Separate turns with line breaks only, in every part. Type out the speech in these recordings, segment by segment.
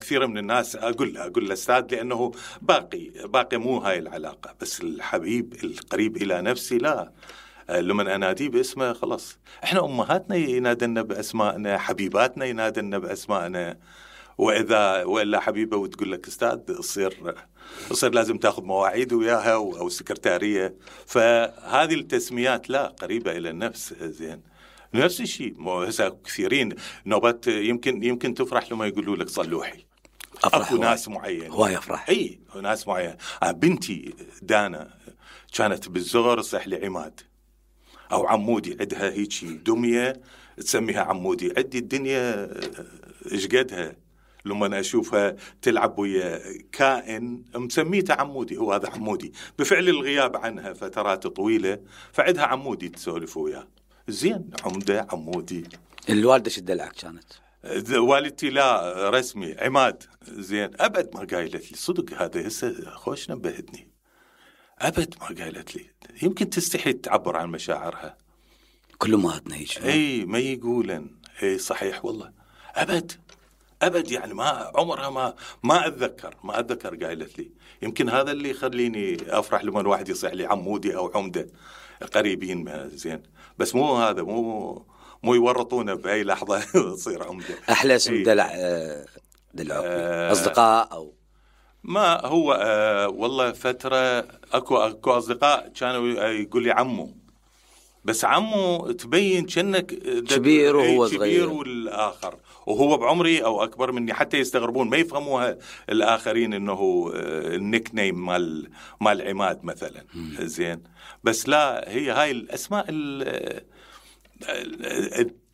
كثير من الناس أقول له أستاذ لأنه باقي مو هاي العلاقة، بس الحبيب القريب إلى نفسي لا، لما أناديه باسمه خلاص. إحنا أمهاتنا ينادلنا بأسمائنا، حبيباتنا ينادلنا بأسمائنا، وإلا حبيبة وتقول لك أستاذ يصير لازم تأخذ مواعيد وياها أو سكرتارية. فهذه التسميات لا قريبة إلى النفس. زين نفس الشيء كثيرين نوبات يمكن تفرح لما يقولوا لك صلوحي. أكو ناس معين
هو يفرح.
أي ناس معين. بنتي دانا كانت بالزغر صح لي عماد أو عمودي، عندها هيك دمية تسميها عمودي. عندي الدنيا إيش قدها لما أنا أشوفها تلعب ويا كائن مسميته عمودي، هو هذا عمودي بفعل الغياب عنها فترات طويلة، فعندها عمودي تسولف وياه. زين عمدة عمودي.
الوالدة شدلعك كانت؟
والدتي لا رسمي عماد. زين أبد ما قايلت لي صدق، هذا هسه خوش نبهتني، أبد ما قايلت لي. يمكن تستحي تعبر عن مشاعرها.
كل ما هيك
اي ما يقولن اي صحيح والله. أبد يعني ما عمرها ما أتذكر قايلت لي. يمكن هذا اللي يخليني أفرح لما الواحد يصيح لي عمودي أو عمدة قريبين. زين بس مو هذا مو يورطونا بأي لحظة تصير عمدة.
أحلى اسم دلع أصدقاء أو
ما هو والله فترة أكو أصدقاء كانوا يقول لي عمو، بس عمو تبين كأنك
كبير وهو صغير،
كبير والآخر وهو بعمري أو أكبر مني، حتى يستغربون ما يفهموها الآخرين إنه النيك نيم مال عماد مثلا. زين بس لا، هي هاي الأسماء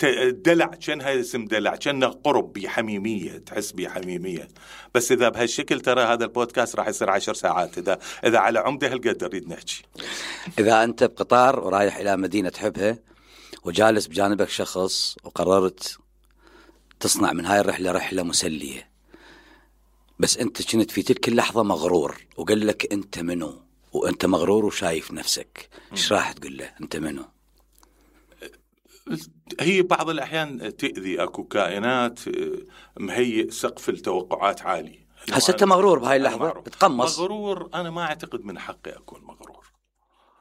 الدلع كأنها اسم دلع، كأنها قرب بحميمية، تحس بحميمية. بس إذا بهالشكل ترى هذا البودكاست راح يصير 10 ساعات إذا على عمده هالقدر نريد نحكي.
إذا أنت بقطار ورايح إلى مدينة تحبها وجالس بجانبك شخص وقررت تصنع من هاي الرحلة رحلة مسلية، بس أنت كنت في تلك اللحظة مغرور وقال لك أنت منو وأنت مغرور وشايف نفسك، إيش راح تقول له؟ أنت منو؟
هي بعض الأحيان تأذي. أكو كائنات مهيئ سقف التوقعات عالي.
هسه أنت مغرور بهاي اللحظة تقمص.
مغرور أنا ما أعتقد من حقي أكون مغرور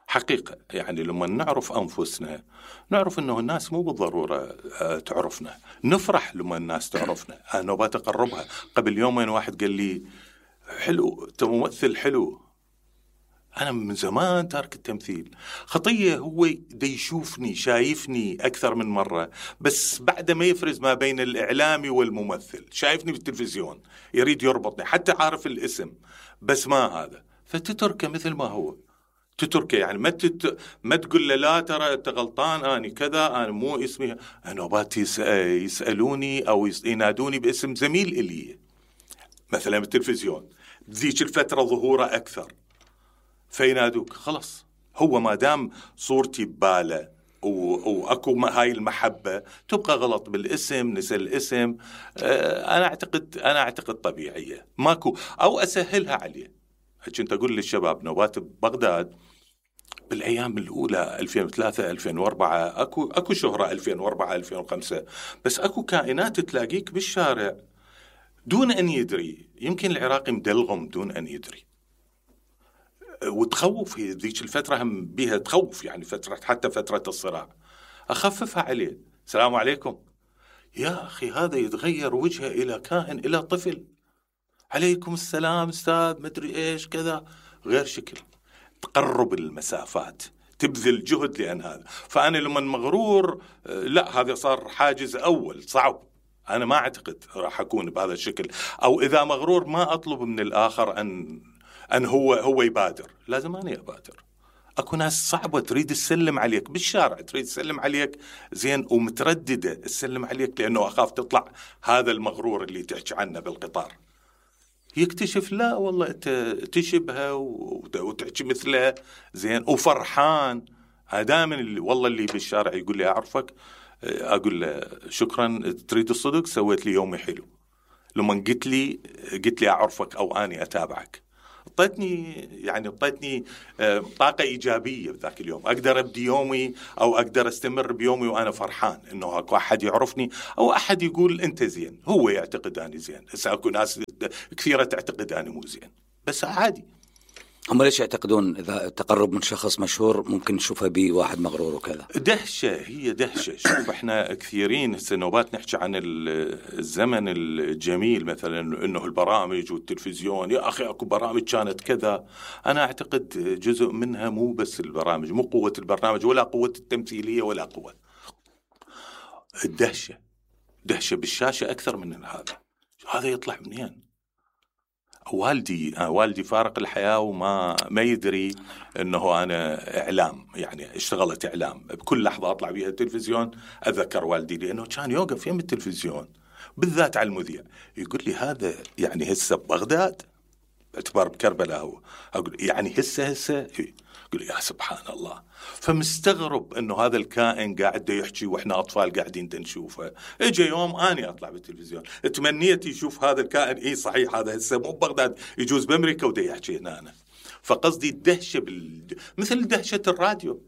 حقيقة. يعني لما نعرف أنفسنا نعرف أنه الناس مو بالضرورة تعرفنا، نفرح لما الناس تعرفنا. أنا بتقربها. قبل يومين واحد قال لي حلو أنت ممثل حلو. أنا من زمان تارك التمثيل، خطية هو دا يشوفني شايفني أكثر من مرة، بس بعد ما يفرز ما بين الإعلامي والممثل، شايفني بالتلفزيون يريد يربطني حتى عارف الاسم، بس ما هذا. فتتركه مثل ما هو، تتركه يعني ما تقول له لا ترى أنت غلطان، أنا كذا، أنا مو اسمي. أنا بات يسألوني أو ينادوني باسم زميل إلي مثلا بالتلفزيون، ذيك الفترة ظهوره أكثر، فينادوك خلص. هو ما دام صورتي بباله وأكو هاي المحبة تبقى غلط بالاسم، نسى الاسم. أنا أعتقد طبيعية ماكو، أو أسهلها عليه. كنت أقول للشباب نوبات بغداد بالأيام الأولى 2003 2004 أكو شهرة 2004 2005، بس أكو كائنات تلاقيك بالشارع دون أن يدري. يمكن العراقي مدلغم دون أن يدري، وتخوف. هي ذيك الفترة هم بيها تخوف، يعني حتى فترة الصراع أخففها عليه. السلام عليكم يا أخي، هذا يتغير وجهه إلى كائن، إلى طفل. عليكم السلام أستاذ مدري إيش كذا، غير شكل. تقرب المسافات، تبذل جهد لأن هذا. فأنا لما مغرور لا، هذا صار حاجز أول صعب. أنا ما أعتقد راح أكون بهذا الشكل. أو إذا مغرور ما أطلب من الآخر أن هو يبادر، لازم أنا أبادر. أكو ناس صعبة تريد تسلم عليك بالشارع، تريد تسلم عليك زين ومترددة تسلم عليك لأنه أخاف تطلع هذا المغرور اللي تحكي عنه بالقطار. يكتشف لا والله أنت تشبهه وتحكي مثله زين وفرحان. دائما والله اللي بالشارع يقول لي أعرفك، أقول له شكرا، تريد الصدق سويت لي يومي حلو. لما قلت لي أعرفك أو أني أتابعك، اعطتني طاقة إيجابية بذاك اليوم، أقدر أبدي يومي أو أقدر أستمر بيومي وأنا فرحان إنه أكو أحد يعرفني أو أحد يقول أنت زين، هو يعتقد أني زين. هسه أكو ناس كثيرة تعتقد أني مو زين، بس عادي.
هم ليش يعتقدون إذا تقرب من شخص مشهور ممكن نشوفه بواحد مغرور وكذا؟
دهشة، هي دهشة. شوف احنا كثيرين سنوبات نحكي عن الزمن الجميل، مثلا انه البرامج والتلفزيون، يا اخي اكو برامج كانت كذا. انا اعتقد جزء منها مو بس البرامج، مو قوة البرنامج ولا قوة التمثيلية ولا قوة الدهشة. دهشة بالشاشة اكثر من هذا يطلع منين؟ والدي فارق الحياة وما يدري انه انا اعلام، يعني اشتغلت اعلام. بكل لحظة اطلع بيها التلفزيون اذكر والدي، لانه كان يوقف يم التلفزيون بالذات على المذيع يقول لي هذا يعني هسه ببغداد، باعتبار بكربلاء هو، اقول يعني هسه يقول لي يا سبحان الله. فمستغرب انه هذا الكائن قاعد يحكي واحنا اطفال قاعدين نشوفه. اجى يوم اني اطلع بالتلفزيون تمنيت يشوف هذا الكائن، صحيح هذا هسه مو ببغداد، يجوز بامريكا ودا يحكي هنا أنا. فقصدي الدهشه مثل دهشه الراديو.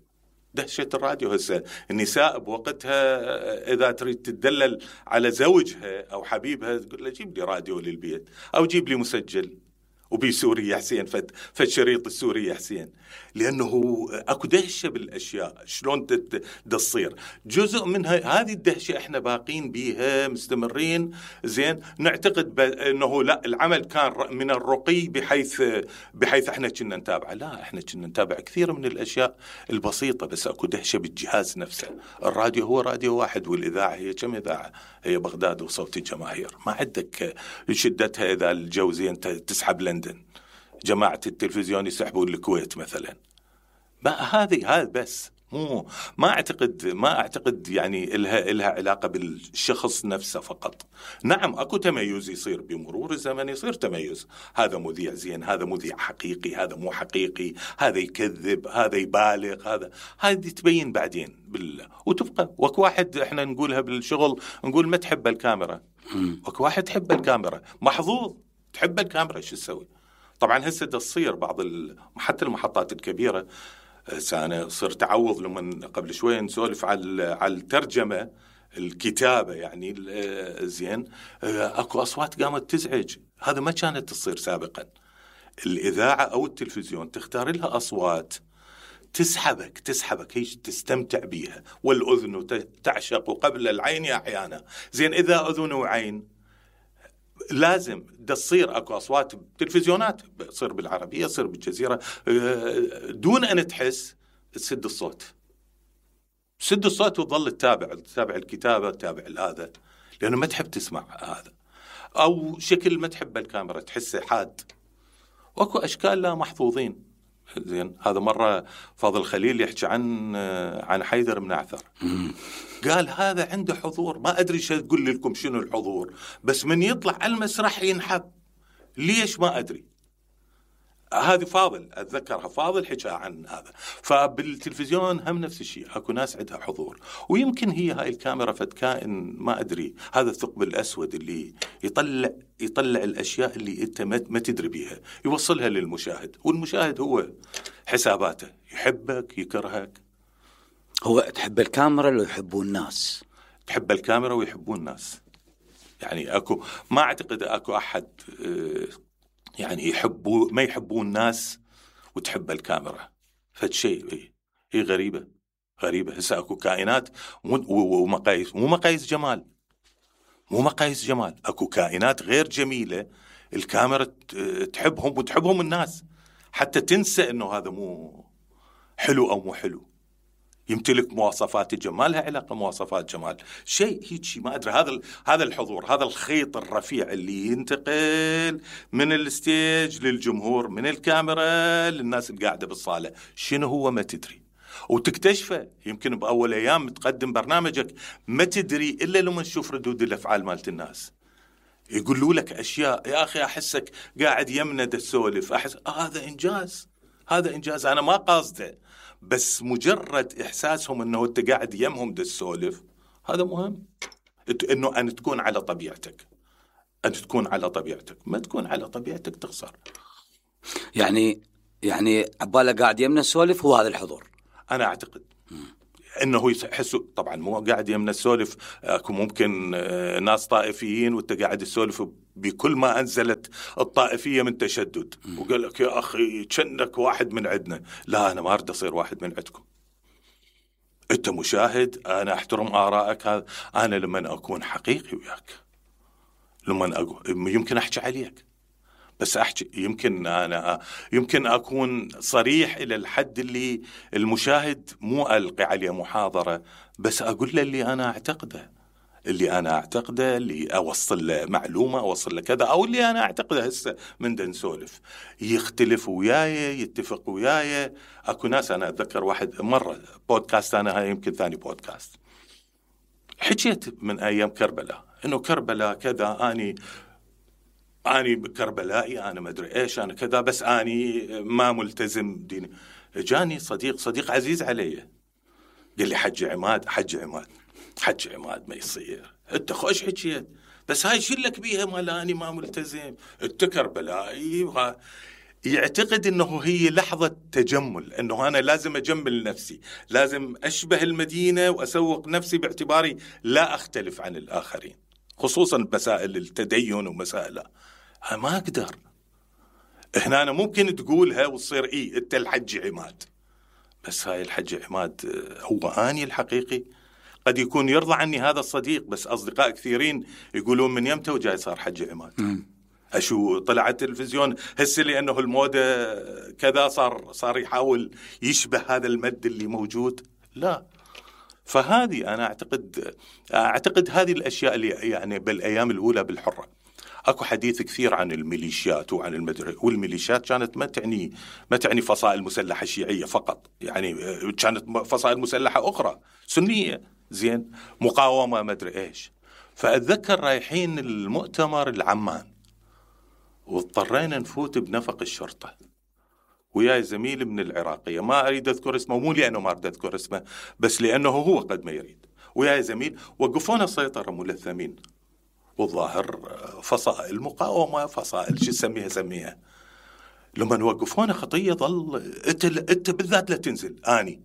دهشه الراديو هسه النساء بوقتها اذا تريد تدلل على زوجها او حبيبها تقول له جيب لي راديو للبيت او جيب لي مسجل وبي سوري يا حسين، فالشريط السوري يا حسين، لأنه أكو دهشة بالأشياء شلون تصير. جزء منها هذه الدهشة إحنا باقين بيها مستمرين. زين نعتقد أنه لا، العمل كان من الرقي بحيث إحنا كنا نتابع. لا، إحنا كنا نتابع كثير من الأشياء البسيطة، بس أكو دهشة بالجهاز نفسه. الراديو هو راديو واحد، والإذاعة هي كم إذاعة؟ هي بغداد وصوت الجماهير. ما عندك شدتها إذا الجو زين تسحب لندن، جماعة التلفزيون يسحبون الكويت مثلا. هذا بس ما أعتقد يعني إلها علاقة بالشخص نفسه فقط. نعم أكو تميز يصير بمرور الزمن، يصير تميز، هذا مذيع زين، هذا مذيع حقيقي، هذا مو حقيقي، هذا يكذب، هذا يبالغ، هذه تبين بعدين وتبقى. وكو واحد إحنا نقولها بالشغل، نقول ما تحب الكاميرا، وكو واحد تحب الكاميرا، محظوظ تحب الكاميرا، شو تسوي؟ طبعا هسه تصير بعض حتى المحطات الكبيرة. أنا صرت أعوض لما قبل شوية نسولف على الترجمة، الكتابة يعني زين، أكو أصوات قامت تزعج. هذا ما كانت تصير سابقا. الإذاعة أو التلفزيون تختار لها أصوات تسحبك هيك تستمتع بيها، والأذن تعشق قبل العين أحيانا. زين إذا أذن وعين لازم تصير اكو اصوات تلفزيونات تصير بالعربيه، تصير بالجزيره، دون ان تحس تسد الصوت وتظل تتابع الكتابه، تتابع هذا، لانه ما تحب تسمع هذا، او شكل ما تحب الكاميرا تحسه حاد. واكو اشكال لا محظوظين. زين هذا مره فاضل خليل يحكي عن حيدر بن عثر، قال هذا عنده حضور، ما ادري شو اقول لكم شنو الحضور، بس من يطلع على المسرح ينحب، ليش ما ادري. هذه فاضل اتذكرها، فاضل حكى عن هذا. فبالتلفزيون هم نفس الشيء، اكو ناس عندها حضور، ويمكن هي هاي الكاميرا فد كائن ما ادري، هذا الثقب الاسود اللي يطلع الاشياء اللي انت ما تدري بيها، يوصلها للمشاهد، والمشاهد هو حساباته، يحبك يكرهك.
هو تحب الكاميرا لو يحبون الناس؟
تحب الكاميرا ويحبون الناس. يعني ما اعتقد اكو احد يعني ما يحبون الناس وتحب الكاميرا. فالشيء هي غريبة. هسه اكو كائنات ومقاييس، مو مقاييس جمال، اكو كائنات غير جميلة الكاميرا تحبهم وتحبهم الناس، حتى تنسى انه هذا مو حلو او مو حلو، يمتلك مواصفات الجمال، لها علاقة مواصفات جمال، شيء هيك ما أدري. هذا الحضور، هذا الخيط الرفيع اللي ينتقل من الستيج للجمهور، من الكاميرا للناس اللي قاعدة بالصالة، شنو هو ما تدري، وتكتشفه يمكن بأول أيام تقدم برنامجك ما تدري إلا لما تشوف ردود الأفعال مالت الناس، يقولوا لك أشياء يا أخي أحسك قاعد يمنا تسولف، هذا إنجاز أنا ما قاصده، بس مجرد إحساسهم أنه أنت قاعد يمهم تسولف، هذا مهم. أنه أن تكون على طبيعتك، ما تكون على طبيعتك تخسر.
يعني عباله قاعد يمنا السولف هو هذا الحضور.
انا اعتقد انه يحسوا، طبعا مو قاعد يمنا السولف، اكو ممكن ناس طائفيين وانت قاعد تسولف بكل ما انزلت الطائفيه من تشدد، وقال لك يا اخي كأنك واحد من عندنا. لا، انا ما اريد اصير واحد من عندكم. انت مشاهد، انا احترم ارائك. هذا انا لما اكون حقيقي وياك، يمكن احكي عليك، بس احكي يمكن اكون صريح الى الحد اللي المشاهد مو القي عليه محاضره، بس اقول له اللي انا اعتقده، اللي اوصل له معلومه، اوصل له كذا، او اللي انا اعتقده هسه من نسولف يختلف وياي، يتفق وياي. اكو ناس، انا اتذكر واحد مره بودكاست، انا هاي يمكن ثاني بودكاست، حكيت من ايام كربلاء، انه كربلاء كذا، اني كربلائي، انا ما ادري ايش، انا كذا، بس اني ما ملتزم ديني. جاني صديق عزيز علي، قال لي حج عماد ما يصير، انت خوش حكيت، بس هاي شلك بيها مال اني ما ملتزم، انت كربلائي. يعتقد انه هي لحظة تجمل، انه انا لازم اجمل نفسي، لازم اشبه المدينة واسوق نفسي باعتباري لا اختلف عن الاخرين، خصوصا مسائل التدين ومسائل. ما اقدر. هنا أنا ممكن تقولها وتصير انت الحج عماد، بس هاي الحج عماد هو اني الحقيقي. قد يكون يرضى عني هذا الصديق، بس اصدقاء كثيرين يقولون من يمتى وجاي صار حج عماد. اشو طلع التلفزيون هسه لانه الموضة كذا صار يحاول يشبه هذا المد اللي موجود. لا. فهذه انا اعتقد هذه الاشياء اللي يعني بالايام الاولى بالحرة اكو حديث كثير عن الميليشيات وعن المدرسة، والميليشيات كانت ما تعني فصائل مسلحة شيعية فقط، يعني كانت فصائل مسلحة أخرى سنية، زين، مقاومة ما أدري إيش. فأتذكر رايحين المؤتمر العمان، واضطرينا نفوت بنفق الشرطة، وياي زميل من العراقية، ما أريد أذكر اسمه، مو لأنه ما أريد أذكر اسمه، بس لأنه هو قد ما يريد. وياي زميل وقفونا سيطرة ملثمين، والظاهر فصائل المقاومة، فصائل شو سميها. لما نوقفونا خطية ظل انت بالذات لا تنزل، اني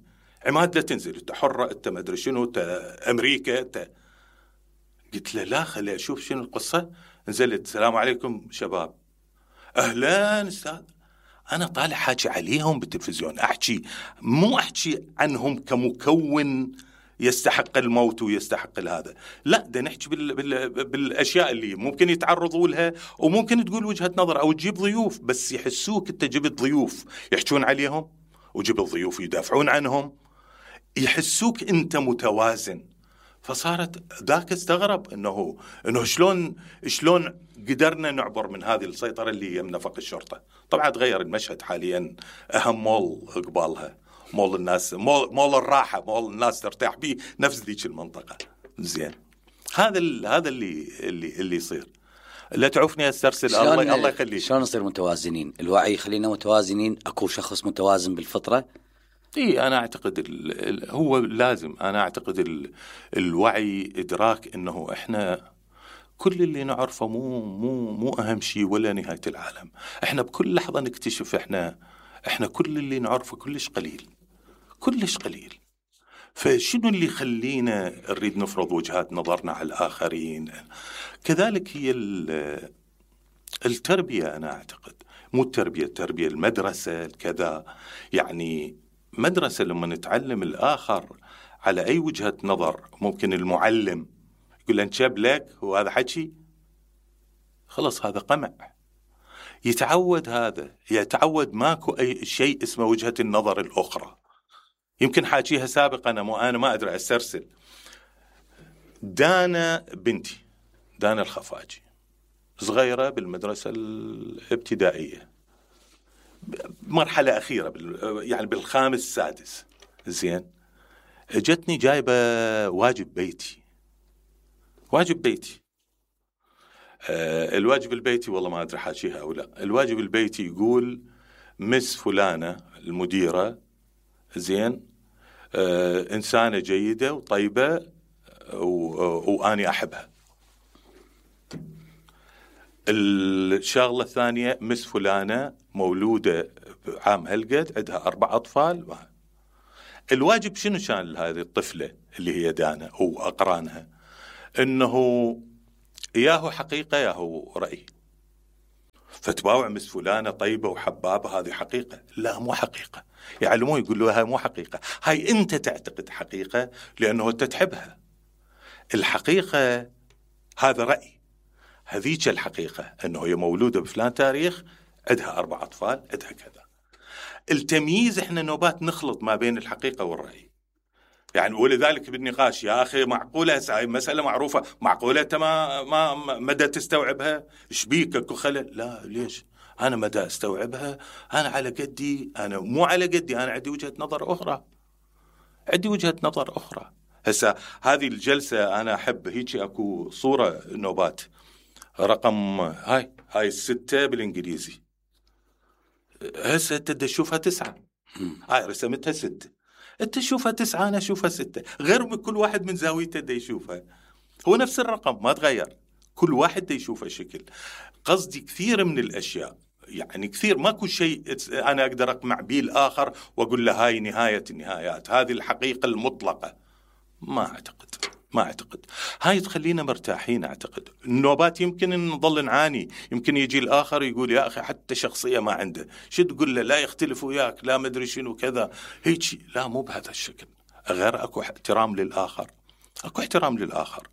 عماد لا تنزل، انت حرة، انت ما ادري شنو، انت امريكا، انت. قلت له لا، خلي اشوف شنو القصة. نزلت، السلام عليكم شباب. اهلا استاذ. انا طالع حاكي عليهم بالتلفزيون، مو احكي عنهم كمكون يستحق الموت ويستحق هذا، لا، ده نحكي بالاشياء اللي ممكن يتعرضوا لها، وممكن تقول وجهة نظر او تجيب ضيوف، بس يحسوك انت جبت ضيوف يحكون عليهم، وجبت ضيوف يدافعون عنهم، يحسوك انت متوازن. فصارت ذاك استغرب انه شلون قدرنا نعبر من هذه السيطرة اللي هي من نفق الشرطة. طبعا تغير المشهد حاليا، اهم مول قبالها مول الناس، مول الراحة، مول الناس ترتاح به، نفس ذيك المنطقة. زين، هذا اللي يصير. لا تعوفني استرسل، الله يخليك.
شلون نصير متوازنين؟ الوعي خلينا متوازنين. اكو شخص متوازن بالفطرة؟
انا اعتقد هو لازم، انا اعتقد الوعي ادراك انه احنا كل اللي نعرفه مو اهم شيء ولا نهاية العالم. احنا بكل لحظة نكتشف احنا كل اللي نعرفه كلش قليل. فشنو اللي يخلينا نريد نفرض وجهات نظرنا على الآخرين؟ كذلك هي التربية. أنا أعتقد مو التربية المدرسة كذا، يعني مدرسة لما نتعلم الآخر على أي وجهة نظر، ممكن المعلم يقول له انشب لك وهذا حكي، خلص هذا قمع. يتعود ماكو أي شيء اسمه وجهة النظر الأخرى. يمكن حاجيها سابقا، أنا ما أدري أسترسل. دانا بنتي، دانا الخفاجي، صغيرة بالمدرسة الابتدائية، مرحلة أخيرة يعني بالخامس السادس. زين، جتني جايبة واجب بيتي. الواجب البيتي والله ما أدري حاجيها أو لا. الواجب البيتي يقول مس فلانة المديرة، زين، إنسانة جيدة وطيبة وأني أحبها. الشغلة الثانية مس فلانة مولودة عام هالقد عندها 4 أطفال. الواجب شنو كان هذه الطفلة اللي هي دانا وأقرانها؟ إنه ياهو حقيقة ياهو رأي. فتباوع مس فلانة طيبة وحبابة هذه حقيقة؟ لا مو حقيقة. يعلموه يقولوا هاي مو حقيقة، هاي أنت تعتقد حقيقة لأنه أنت تحبها. الحقيقة هذا رأي، هذيك الحقيقة أنه هي مولودة بفلان تاريخ عندها 4 أطفال عندها كذا. التمييز إحنا نوبات نخلط ما بين الحقيقة والرأي يعني. ولذلك بالنقاش يا أخي معقولة هاي مسألة معروفة، معقولة أنت ما مدى تستوعبها؟ إيش بيك أكو خلل؟ لا ليش أنا مدى أستوعبها؟ أنا على قدي، أنا مو على قدي، أنا عندي وجهة نظر أخرى، عندي وجهة نظر أخرى. هسه هذه الجلسة أنا أحب هيك أكو صورة نوبات رقم هاي 6 بالإنجليزي، هسه أنت تشوفها 9، هاي رسمتها 6، أنت تشوفها 9 أنا أشوفها 6، غير من كل واحد من زاويته دا يشوفها، هو نفس الرقم ما تغير، كل واحد دا يشوفه شكل. قصدي كثير من الأشياء يعني كثير ماكو شيء أنا أقدر أقمع به الآخر وأقول له هاي نهاية النهايات، هذه الحقيقة المطلقة. ما أعتقد هاي تخلينا مرتاحين. أعتقد النوبات يمكن نظل نعاني، يمكن يجي الآخر يقول يا أخي حتى شخصية ما عنده، شو تقول له؟ لا يختلف وياك، لا مدري شنو كذا هيك. لا مو بهذا الشكل، غير أكو احترام للآخر، أكو احترام للآخر،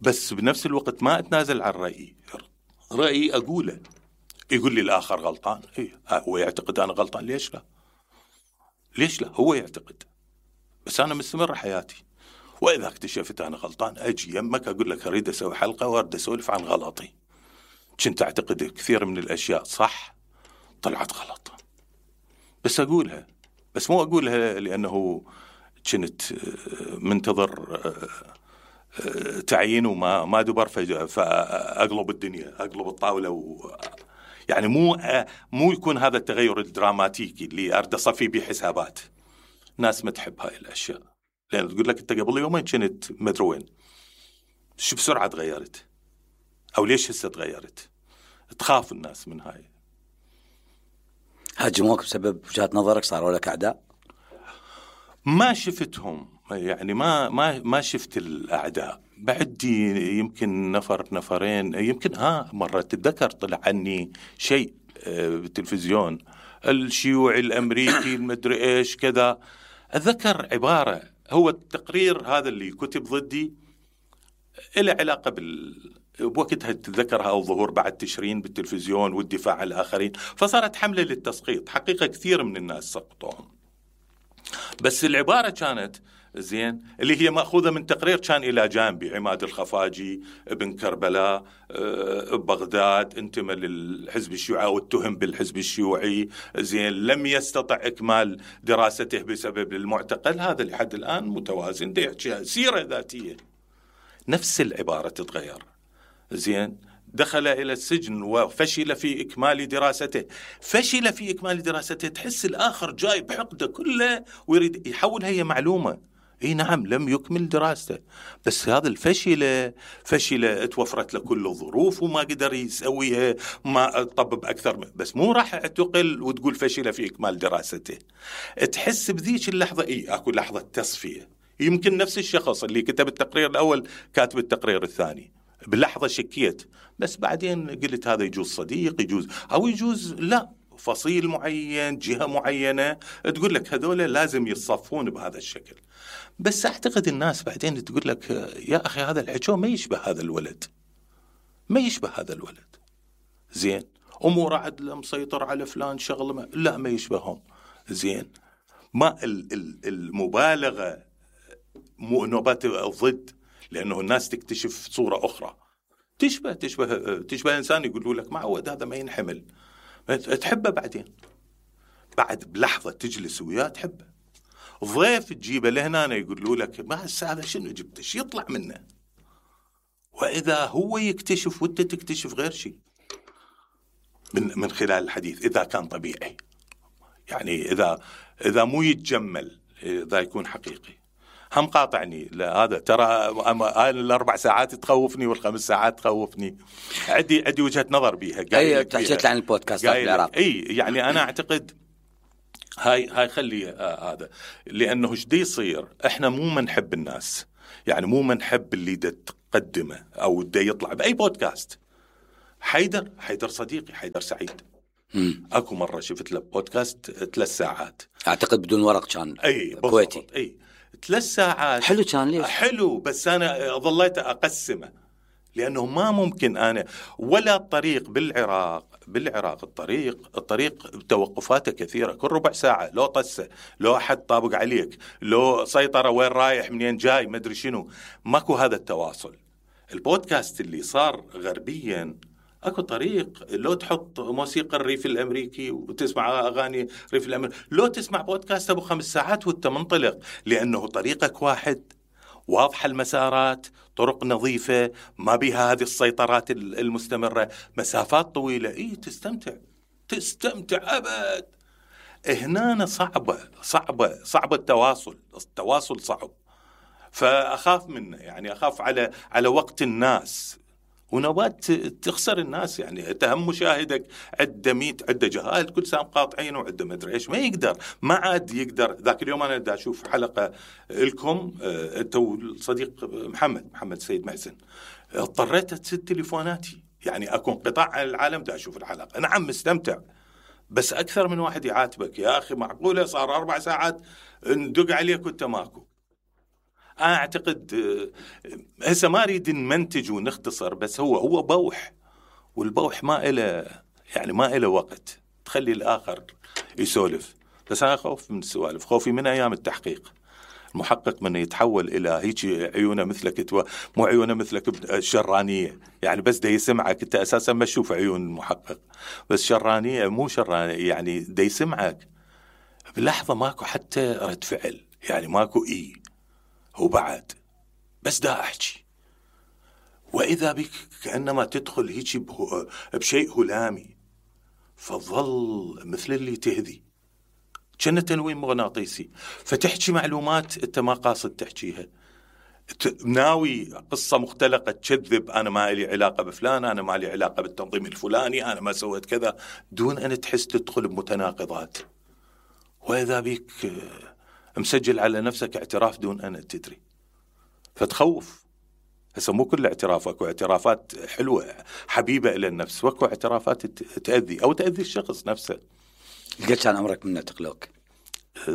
بس بنفس الوقت ما أتنازل عن رأيي أقوله. يقول لي الآخر غلطان، هو يعتقد أنا غلطان، ليش لا هو يعتقد، بس أنا مستمر حياتي. وإذا اكتشفت أنا غلطان أجي يمك أقول لك أريد أسوي حلقة وأريد أسولف عن غلطي، كنت أعتقد كثير من الأشياء صح طلعت غلط، بس أقولها، بس مو أقولها لأنه كنت منتظر تعيين وما دبر فأقلب الدنيا، أقلب الطاولة يعني مو يكون هذا التغير الدراماتيكي اللي أرد أصفي به حسابات. ناس ما تحب هاي الأشياء، لأن تقول لك أنت قبل يومين كنت مدري وين، شو بسرعة تغيرت، أو ليش هسه تغيرت؟ تخاف الناس من هاي.
هاجموك بسبب وجهة نظرك؟ صاروا لك أعداء؟
ما شفتهم يعني، ما شفت الأعداء. بعدي يمكن نفرين، يمكن مرة تتذكر طلع عني شيء بالتلفزيون، الشيوعي الأمريكي المدري إيش كذا. أذكر عبارة، هو التقرير هذا اللي كتب ضدي إله علاقة بوقتها تذكرها، أو ظهور بعد تشرين بالتلفزيون والدفاع عن الآخرين، فصارت حملة للتسقيط. حقيقة كثير من الناس سقطوهم، بس العبارة كانت زين اللي هي مأخوذة من تقرير كان إلى جانبي عماد الخفاجي ابن كربلاء ببغداد، انتمى للحزب الشيوعي واتهم بالحزب الشيوعي، زين لم يستطع إكمال دراسته بسبب المعتقل، هذا لحد الآن متوازن، دي سيرة ذاتية. نفس العبارة تتغير، زين دخل إلى السجن وفشل في إكمال دراسته، فشل في إكمال دراسته، تحس الآخر جاي بحقده كله ويريد يحول هي معلومة. نعم لم يكمل دراسته، بس هذا فشل توفرت له كل الظروف وما قدر يسويها، ما طبب أكثر بس مو راح اعتقل وتقول فشل في إكمال دراسته. تحس بذيك اللحظة أكو لحظة تصفية. يمكن نفس الشخص اللي كتب التقرير الأول كاتب التقرير الثاني، باللحظة شكيت، بس بعدين قلت هذا يجوز صديق، يجوز أو يجوز لا، فصيل معين، جهة معينة تقول لك هذول لازم يتصفون بهذا الشكل. بس أعتقد الناس بعدين تقول لك يا أخي هذا الحكي ما يشبه هذا الولد، ما يشبه هذا الولد، زين أمور عدل مسيطر على فلان شغل لا ما يشبههم، زين ما المبالغة نوبات الضد، لأنه الناس تكتشف صورة أخرى تشبه إنسان يقولوا لك معود هذا ما ينحمل، تحبه بعد بلحظة تجلس وياه تحبه. ضيف تجيبه لهنا يقولوا لك ما هذا شنو جبتش يطلع منه، وإذا هو يكتشف وانت تكتشف غير شيء من خلال الحديث، إذا كان طبيعي يعني، إذا مو يتجمل، إذا يكون حقيقي. هم قاطعني. لا هذا ترى ال4 ساعات تخوفني وال5 ساعات تخوفني. عندي وجهة نظر بيها.
اي تحكيت عن البودكاستات بالعراق.
اي يعني انا اعتقد هاي خلي هذا، لانه ايش دي يصير، احنا مو منحب الناس، يعني مو منحب اللي دا تقدمه او دا يطلع باي بودكاست. حيدر صديقي، حيدر سعيد، اكو مره شفت له بودكاست 3 ساعات
اعتقد بدون ورق كان.
اي
كويتي.
اي 3 ساعات
حلو كان. ليش
حلو؟ بس انا ظليت اقسمه، لانه ما ممكن انا ولا الطريق بالعراق الطريق توقفاته كثيره، كل ربع ساعه لو طسه، لو احد طابق عليك، لو سيطره وين رايح منين جاي ما ادري شنو، ماكو هذا التواصل. البودكاست اللي صار غربيا اكو طريق، لو تحط موسيقى الريف الامريكي وتسمع اغاني الريف الامريكي، لو تسمع بودكاست ابو 5 ساعات وانت منطلق، لانه طريقك واحد، واضحه المسارات، طرق نظيفه، ما بها هذه السيطرات المستمره، مسافات طويله. اي تستمتع ابد. هنا صعبه التواصل صعب. فاخاف منه، يعني اخاف على وقت الناس، ونوبات تخسر الناس. يعني تهم مشاهدك عدة جهات كل سام قاطعين وعدة ما ادري ايش، ما عاد يقدر. ذاك اليوم انا دا اشوف حلقه لكم انت والصديق محمد سيد محسن، اضطريت اسد تليفوناتي، يعني اكون قطاع عن العالم دا اشوف الحلقه. نعم مستمتع، بس اكثر من واحد يعاتبك، يا اخي معقوله صار 4 ساعات ندق عليك وانت ماكو. أنا أعتقد هسه ما أريد نمنتج ونختصر، بس هو بوح، والبوح ما إله وقت، تخلي الآخر يسولف. بس أنا خوف من السوالف، خوفي من أيام التحقيق، المحقق من يتحول إلى هيك عيونه مثلك، مو عيونه مثلك الشرانية، يعني بس دا يسمعك أنت أساسا ما تشوف عيون المحقق، بس شرانية مو شرانية، يعني دا يسمعك بلحظة ماكو حتى رد فعل، يعني ماكو وبعد بس دا أحكي، وإذا بك كأنما تدخل هيك بشيء هلامي، فظل مثل اللي تهذي، كأنه تنويم مغناطيسي، فتحكي معلومات أنت ما قاصد تحكيها، ناوي قصة مختلقة تكذب، أنا ما لي علاقة بفلان، أنا ما لي علاقة بالتنظيم الفلاني، أنا ما سويت كذا، دون أن تحس تدخل بمتناقضات. وإذا بك مسجل على نفسك اعتراف دون أن تدري، فتخوف. هسه مو كل اعتراف، اكو اعترافات حلوة حبيبة إلى النفس، واكو اعترافات تأذي أو تأذي الشخص نفسه.
قد كان عمرك من اعتقلوك؟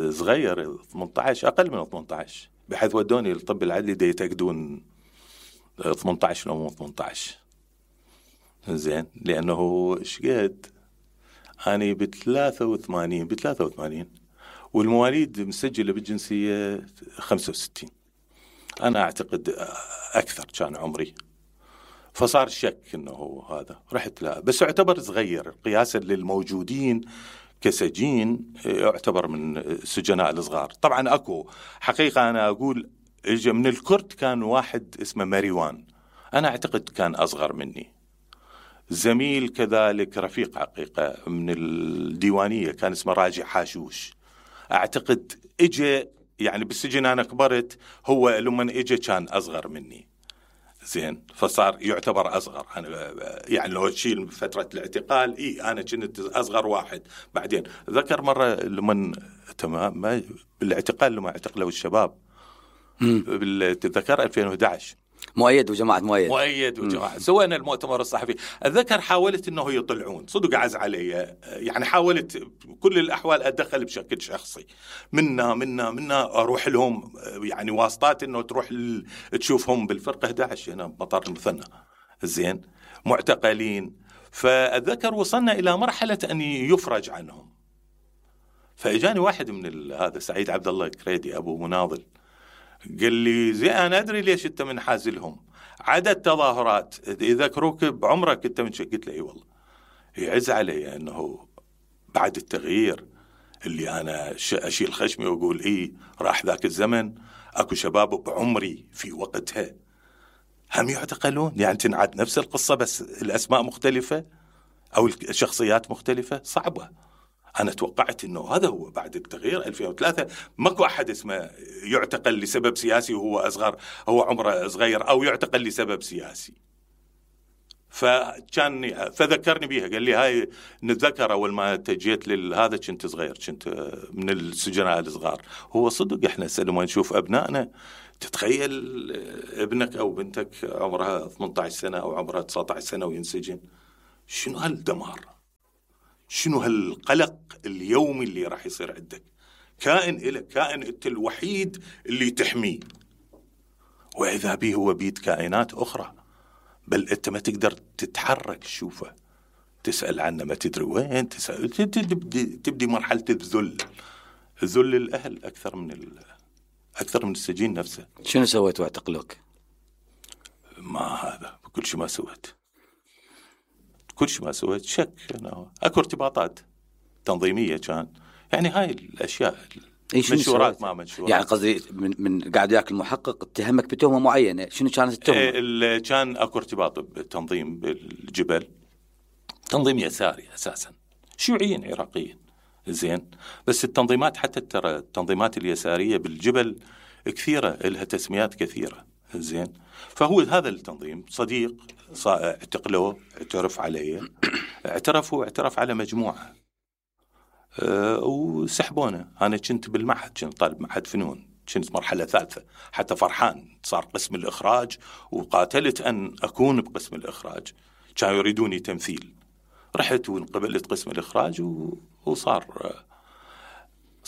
صغير، 18، أقل من 18، بحيث ودوني الطب العدلي دا يتأكدون 18 أو 18. زين، لأنه شقد أنا ب83 والمواليد مسجلة بالجنسية 65، أنا أعتقد أكثر كان عمري، فصار شك إنه هذا، رحت لا، بس اعتبر صغير قياسا للموجودين كسجين، يعتبر من السجناء الصغار. طبعا أكو حقيقة أنا أقول إجا من الكرد كان واحد اسمه ماريوان، أنا أعتقد كان أصغر مني، زميل كذلك رفيق حقيقة من الديوانية كان اسمه راجع حاشوش، أعتقد إجا يعني بالسجن أنا كبرت، هو لما إجا كان أصغر مني. زين، فصار يعتبر أصغر. أنا يعني لو تشيل فترة الاعتقال أنا كنت أصغر واحد. بعدين ذكر مرة لما تمام بالاعتقال لما اعتقلوا الشباب بالذكر 2011
مؤيد وجماعة
مؤيد وجماعة سوينا المؤتمر الصحفي. أتذكر حاولت إنه يطلعون، صدق عز علي، يعني حاولت كل الأحوال أدخل بشكل شخصي، منا أروح لهم، يعني واسطات إنه تروح تشوفهم بالفرقة 11 هنا بمطار المثنى. زين، معتقلين. فأتذكر وصلنا إلى مرحلة أن يفرج عنهم، فإجاني واحد من هذا سعيد عبد الله كريدي أبو مناضل، قال لي زي أنا أدري ليش أنت من حازلهم، عدد تظاهرات يذكروك بعمرك أنت من قلت له إي والله. يعز علي أنه بعد التغيير اللي أنا أشيل خشمي وأقول إيه راح ذاك الزمن، أكو شباب بعمري في وقتها هم يعتقلون، يعني تنعاد نفس القصة بس الأسماء مختلفة أو الشخصيات مختلفة. صعبة. أنا توقعت أنه هذا هو بعد التغيير 2003 ماكو أحد اسمه يعتقل لسبب سياسي وهو أصغر، هو عمره صغير، أو يعتقل لسبب سياسي. فذكرني بيها، قال لي هاي نتذكر أول ما تجيت لهذا كنت صغير، كنت من السجناء الصغار. هو صدق إحنا لما نشوف أبنائنا تتخيل ابنك أو بنتك عمرها 18 سنة أو عمرها 19 سنة وينسجن، شنو هالدمار، شنو هالقلق اليومي اللي راح يصير عندك. كائن إلك، كائن أنت الوحيد اللي تحميه، وإذا به هو بيد كائنات أخرى، بل أنت ما تقدر تتحرك تشوفه، تسأل عنه ما تدري وين، تبدي مرحلة الذل الأهل أكثر من السجين نفسه.
شنو سويت واعتقلوك؟
ما هذا كل شيء ما سويت، شك أنا أكو ارتباطات تنظيمية كان، يعني هاي الأشياء منشورات ما منشورات.
يعني قصدي من قاعد ياك المحقق اتهمك بتهمة معينة، شنو كانت التهمة؟
كان أكو ارتباط بالتنظيم بالجبل، تنظيم يساري أساسا، شيوعيين عراقيين، زين. بس التنظيمات حتى ترى التنظيمات اليسارية بالجبل كثيرة، لها تسميات كثيرة، زين. فهو هذا التنظيم صديق اعتقلوه، اعترف عليه، اعترف على مجموعة، وسحبونه. أنا كنت بالمعهد، كنت طالب معهد فنون، كنت مرحلة ثالثة، حتى فرحان صار قسم الإخراج، وقاتلت أن أكون بقسم الإخراج، كانوا يريدوني تمثيل، رحت وانقبلت قسم الإخراج، وصار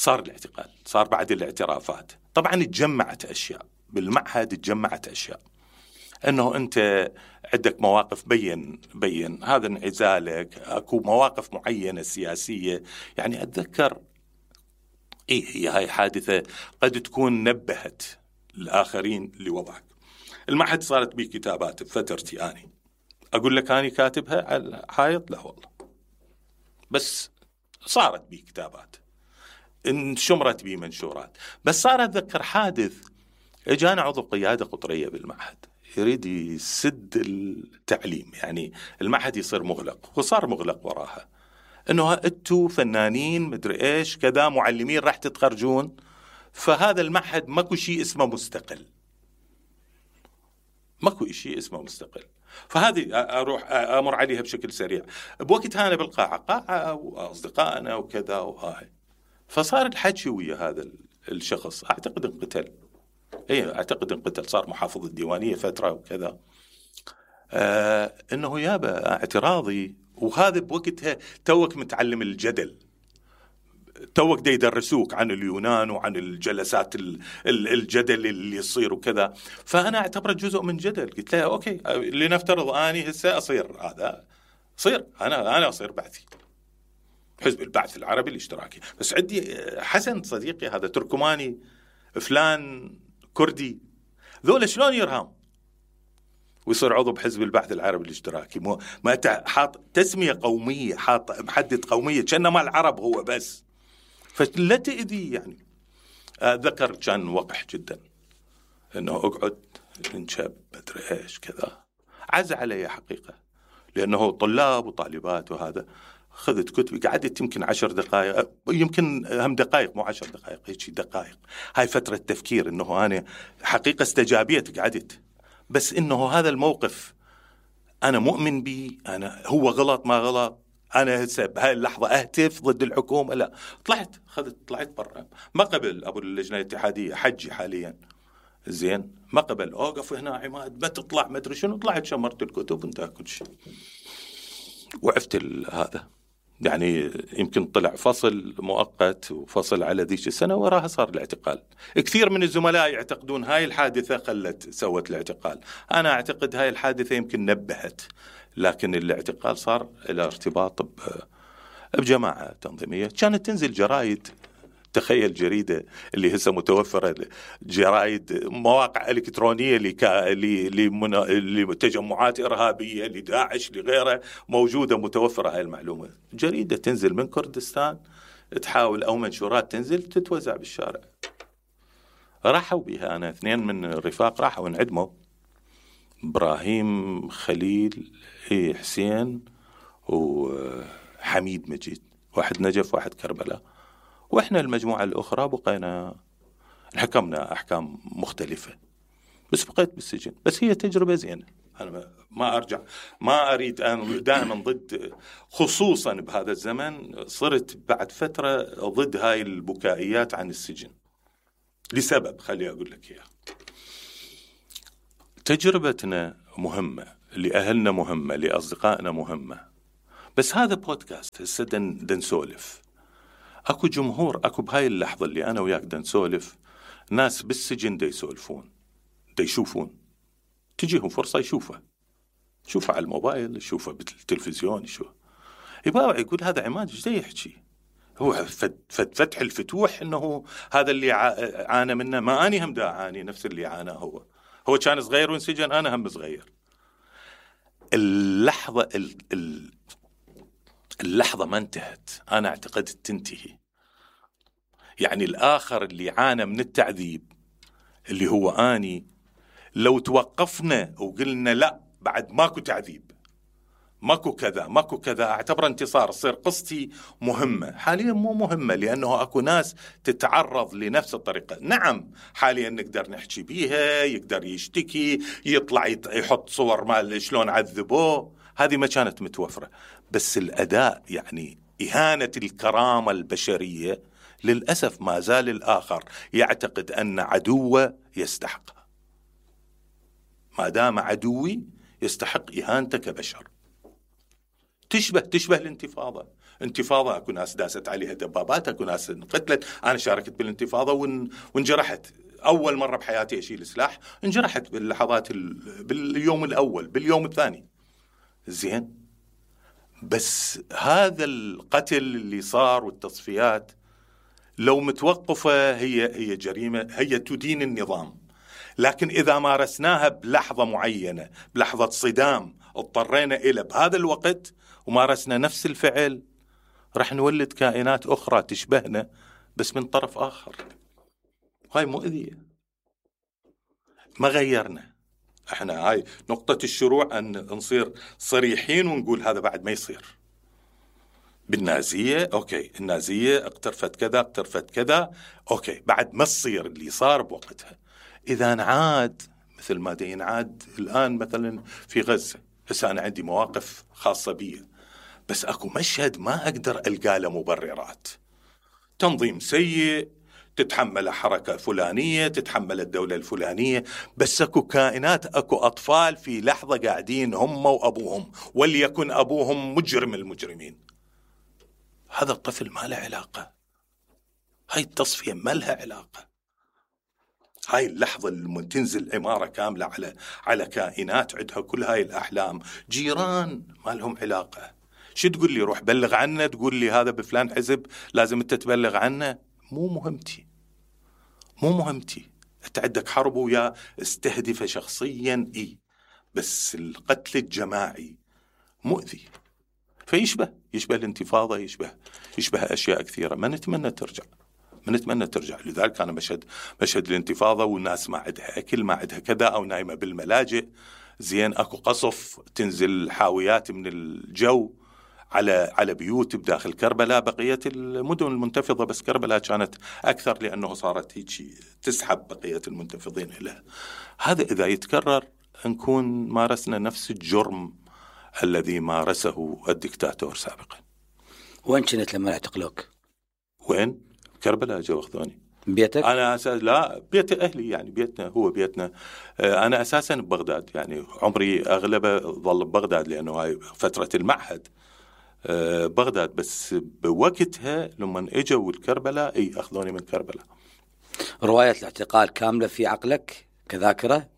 الاعتقال، صار بعد الاعترافات. طبعا اتجمعت أشياء بالمعهد، اتجمعت أشياء أنه أنت عندك مواقف بين هذا انعزالك، أكو مواقف معينة سياسية. يعني أتذكر هي هاي حادثة قد تكون نبهت الآخرين لوضعك. المعهد صارت بي كتابات بفترتي، أنا أقول لك أنا كاتبها على الحائط؟ لا والله، بس صارت بي كتابات، انشمرت بي منشورات. بس صار أتذكر حادث، اجانا عضو قيادة قطرية بالمعهد يريد يسد التعليم، يعني المعهد يصير مغلق، وصار مغلق وراها، انه انتوا فنانين مدري ايش كذا، معلمين راح تتخرجون، فهذا المعهد ماكو شيء اسمه مستقل، ماكو شيء اسمه مستقل. فهذه اروح امر عليها بشكل سريع. بوقتها انا بالقاعة واصدقائنا وكذا وهاي، فصار الحكي ويا هذا الشخص، اعتقد انقتل، اعتقد انقتل، صار محافظ الديوانية فترة وكذا. انه يابا اعتراضي، وهذا بوقتها توك متعلم الجدل، توك دا يدرسوك عن اليونان وعن الجلسات الجدل اللي يصير وكذا. فأنا اعتبره جزء من جدل. قلت له أوكي، لنفترض أني هسه أصير هذا، أنا أصير بعثي حزب البعث العربي الاشتراكي، بس عندي حسن صديقي هذا تركماني، فلان كردي، ذول شلون يرهم ويصير عضو بحزب البعث العربي الاشتراكي؟ ما حاط تسمية قومية، حاط محدد قومية، كأنما العرب هو بس، فلا تأذي. يعني ذكر كان وقح جدا انه اقعد انشب مدري ايش كذا، عز علي حقيقة، لانه طلاب وطالبات وهذا. خذت كتبي، قعدت يمكن 10 دقائق، يمكن هم دقائق، مو 10 دقائق، هيك دقائق. هاي فترة تفكير، انه انا حقيقة استجابيت، قعدت، بس انه هذا الموقف انا مؤمن به، انا هو غلط ما غلط، انا بهاي اللحظة اهتف ضد الحكومة، لا. طلعت برا. ما قبل ابو اللجنة الاتحادية حجي حاليا، زين، ما قبل اوقف هنا عماد، ما تطلع ما ادري شنو، طلعت شمرت الكتب وانتهى كل شيء، وعفت هذا. يعني يمكن طلع فصل مؤقت وفصل على ذيك السنة، وراها صار الاعتقال. كثير من الزملاء يعتقدون هاي الحادثة سوت الاعتقال. أنا أعتقد هاي الحادثة يمكن نبهت، لكن الاعتقال صار إلى ارتباط بجماعة تنظيمية. كانت تنزل جرائد، تخيل جريدة اللي هسه متوفرة، جرائد مواقع إلكترونية لتجمعات إرهابية، لداعش، لغيره، موجودة متوفرة هاي المعلومة. جريدة تنزل من كردستان تحاول، أو منشورات تنزل تتوزع بالشارع. راحوا بها أنا 2 من الرفاق راحوا انعدموا، إبراهيم خليل حسين وحميد مجيد، واحد نجف واحد كربلاء، وإحنا المجموعة الأخرى بقينا حكمنا أحكام مختلفة، بس بقيت بالسجن. بس هي تجربة زينة، أنا ما أريد أن دائما ضد، خصوصا بهذا الزمن صرت بعد فترة ضد هاي البكائيات عن السجن لسبب خلي أقول لك إياه. تجربتنا مهمة، لأهلنا مهمة، لأصدقائنا مهمة، بس هذا بودكاست هسه دنسولف. أكو جمهور، أكو بهاي اللحظة اللي أنا وياك دنسولف، ناس بالسجن دا يسولفون، دا يشوفون، تجيهم فرصة يشوفها على الموبايل، يشوفها بالتلفزيون، يبقى يقول هذا عماد ايش دا يحكي؟ هو فتح الفتوح انه هذا اللي عانى منه، ما اني هم دا اعاني نفس اللي عاناه هو كان صغير وانسجن، انا هم صغير. اللحظة ما انتهت، انا اعتقد تنتهي. يعني الاخر اللي عانى من التعذيب اللي هو اني، لو توقفنا وقلنا لا بعد ماكو تعذيب، ماكو كذا، اعتبر انتصار، تصير قصتي مهمة. حاليا مو مهمة، لأنه أكو ناس تتعرض لنفس الطريقة. نعم حاليا نقدر نحكي بيها، يقدر يشتكي، يطلع يحط صور مال شلون عذبوه، هذه ما كانت متوفرة. بس الأداء يعني إهانة الكرامة البشرية للأسف ما زال الآخر يعتقد أن عدوه يستحقها. ما دام عدوي يستحق إهانته كبشر. تشبه الانتفاضة. انتفاضة أكو ناس داست عليها دبابات، أكو ناس انقتلت. أنا شاركت بالانتفاضة وانجرحت، أول مرة بحياتي أشيل سلاح، انجرحت باللحظات باليوم الأول، باليوم الثاني، زين. بس هذا القتل اللي صار والتصفيات لو متوقفة هي جريمة، هي تدين النظام. لكن إذا مارسناها بلحظة معينة، بلحظة صدام اضطرينا إلى بهذا الوقت، ومارسنا نفس الفعل، رح نولد كائنات أخرى تشبهنا بس من طرف آخر. هاي مؤذية، ما غيرنا. احنا هاي نقطة الشروع، أن نصير صريحين ونقول هذا بعد ما يصير. بالنازية أوكي، النازية اقترفت كذا أوكي، بعد ما تصير اللي صار بوقتها. إذا نعاد مثل ما ينعاد الآن مثلا في غزة، بس أنا عندي مواقف خاصة بي، بس أكو مشهد ما أقدر ألقى له مبررات. تنظيم سيء، تتحمل حركة فلانية، تتحمل الدولة الفلانية، بس أكو كائنات، أكو أطفال في لحظة قاعدين هم وأبوهم، وليكن أبوهم مجرم المجرمين. هذا الطفل ما له علاقة، هاي التصفية ما لها علاقة. هاي اللحظة اللي تنزل عمارة كاملة على كائنات عندها كل هاي الأحلام، جيران ما لهم علاقة. شو تقول لي روح بلغ عنه، تقول لي هذا بفلان حزب لازم انت تبلغ عنه؟ مو مهمتي. انت عندك حرب ويا استهدف شخصيا، بس القتل الجماعي مؤذي. فيشبه الانتفاضة، يشبه أشياء كثيرة. ما نتمنى ترجع. لذلك أنا مشهد الانتفاضة والناس ما عندها أكل، ما عندها كذا، أو نايمة بالملاجئ، زين. أكو قصف تنزل حاويات من الجو على بيوت بداخل كربلاء. بقية المدن المنتفضة، بس كربلاء كانت أكثر لأنه صارت هيك تسحب بقية المنتفضين إليها. هذا إذا يتكرر نكون مارسنا نفس الجرم الذي مارسه الدكتاتور سابقا.
وين كنت لما اعتقلوك؟
وين؟ كربلاء جو أخذوني.
بيتك؟
أنا لا، بيت أهلي، يعني بيتنا هو بيتنا. أنا أساسا ببغداد، يعني عمري أغلبه ظل ببغداد لأنه هاي فترة المعهد بغداد. بس بوقتها لما اجوا الكربلاء أخذوني من كربلاء.
رواية الاعتقال كاملة في عقلك كذاكرة؟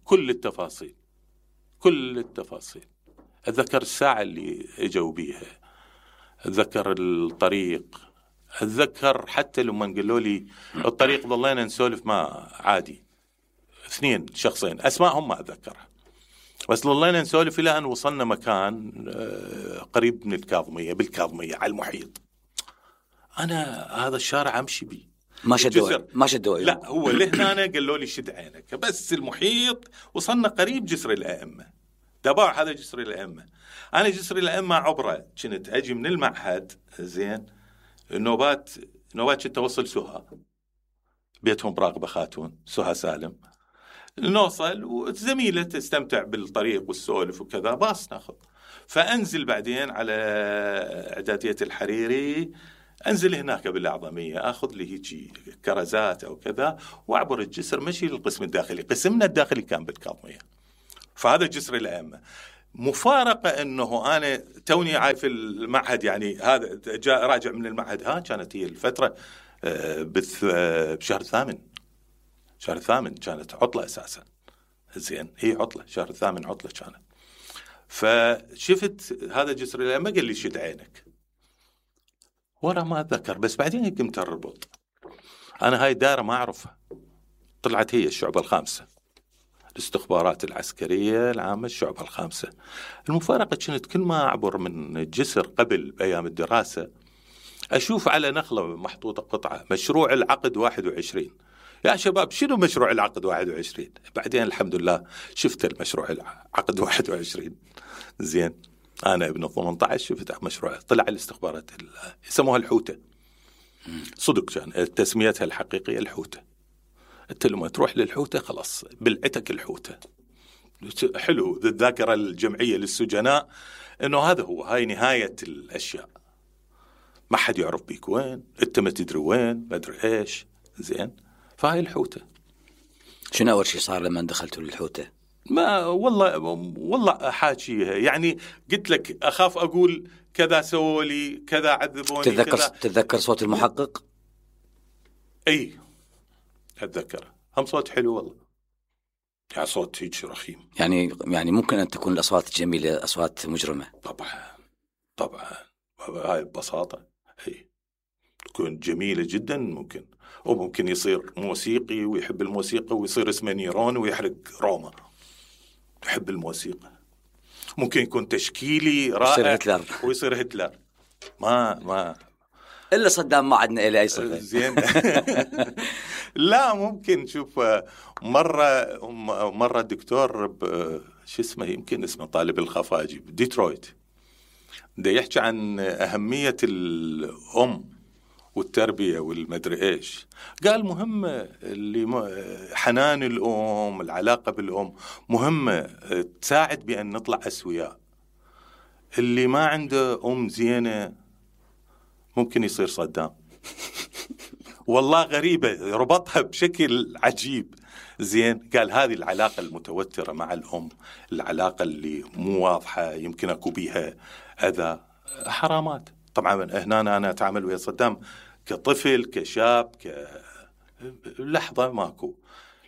كل التفاصيل. أتذكر الساعة اللي اجوا بيها، أتذكر الطريق، أتذكر حتى لما قالوا لي الطريق ظلينا نسولف ما عادي، 2 شخصين أسمائهم ما أتذكرها، بس ظلينا نسولف إلى أن وصلنا مكان قريب من بالكاظمية على المحيط. أنا هذا الشارع أمشي بيه
ما شدوا
لا، هو لهنا قالوا لي شد عينك، بس المحيط. وصلنا قريب جسر الأئمة، دبار هذا جسر الأئمة. أنا جسر الأئمة عبرة كنت أجي من المعهد زين النوبات كنت أوصل سوها، بيتهم براقبة خاتون سوها سالم، نوصل وزميلة تستمتع بالطريق والسولف وكذا، باص ناخذ. فأنزل بعدين على إعدادية الحريري، أنزل هناك بالأعظمية أخذ لي هيجي كرزات أو كذا وأعبر الجسر مشي للقسم الداخلي. قسمنا الداخلي كان بالكاظمية. فهذا جسر الأئمة. مفارقة أنه أنا توني عاي في المعهد، يعني هذا جاء راجع من المعهد، كانت هي الفترة بشهر الثامن. شهر الثامن كانت عطلة أساسا، زين هي عطلة شهر الثامن، عطلة كانت. فشفت هذا جسر الأئمة قال لي شد عينك، ورا ما أتذكر، بس بعدين قمت أربط. أنا هاي الدائرة ما أعرفها، طلعت هي الشعبة الخامسة، الاستخبارات العسكرية العامة الشعبة الخامسة. المفارقة كانت كل ما أعبر من الجسر قبل بأيام الدراسة أشوف على نخلة محطوطة قطعة مشروع العقد 21. يا شباب شنو مشروع العقد 21؟ بعدين الحمد لله شفت المشروع العقد 21 زين. أنا ابن 18 شفت مشروع، طلع الاستخبارات يسموها الحوتة، صدق كان تسميتها الحقيقية الحوتة. أنت لما تروح للحوتة خلاص بلعتك الحوتة. حلو الذاكرة الجمعية للسجناء إنه هذا هو، هاي نهاية الأشياء، ما حد يعرف بيك وين، أنت ما تدري وين، ما أدري إيش، زين. فهاي الحوتة.
شنو أول شيء صار لما دخلتوا للحوتة؟
ما والله حاجيها، يعني قلت لك أخاف أقول كذا سووا لي كذا عذبوني.
تتذكر صوت المحقق؟
أي أتذكره، هم صوت حلو والله، يعني صوت هيك رخيم.
يعني ممكن أن تكون الأصوات جميلة، أصوات مجرمة.
طبعا هاي ببساطة هي تكون جميلة جدا ممكن، وممكن يصير موسيقي ويحب الموسيقى ويصير اسمه نيرون ويحرق روما، يحب الموسيقى. ممكن يكون تشكيلي رائع ويصير هتلر. ما
إلا صدام ما عدنا إلى أي صفة.
زين. لا ممكن. شوف مرة الدكتور شو اسمه، يمكن اسمه طالب الخفاجي بديترويت، ده يحكي عن أهمية الأم والتربية والمدري إيش. قال مهمة اللي حنان الأم، العلاقة بالأم مهمة، تساعد بأن نطلع أسوياء. اللي ما عنده أم زينة ممكن يصير صدام. والله غريبة، ربطها بشكل عجيب. زين قال هذه العلاقة المتوترة مع الأم، العلاقة اللي مو واضحة، يمكن أكو بيها أذى، حرامات. طبعا هنا أنا أتعامل ويا صدام كطفل كشاب لحظة ماكو.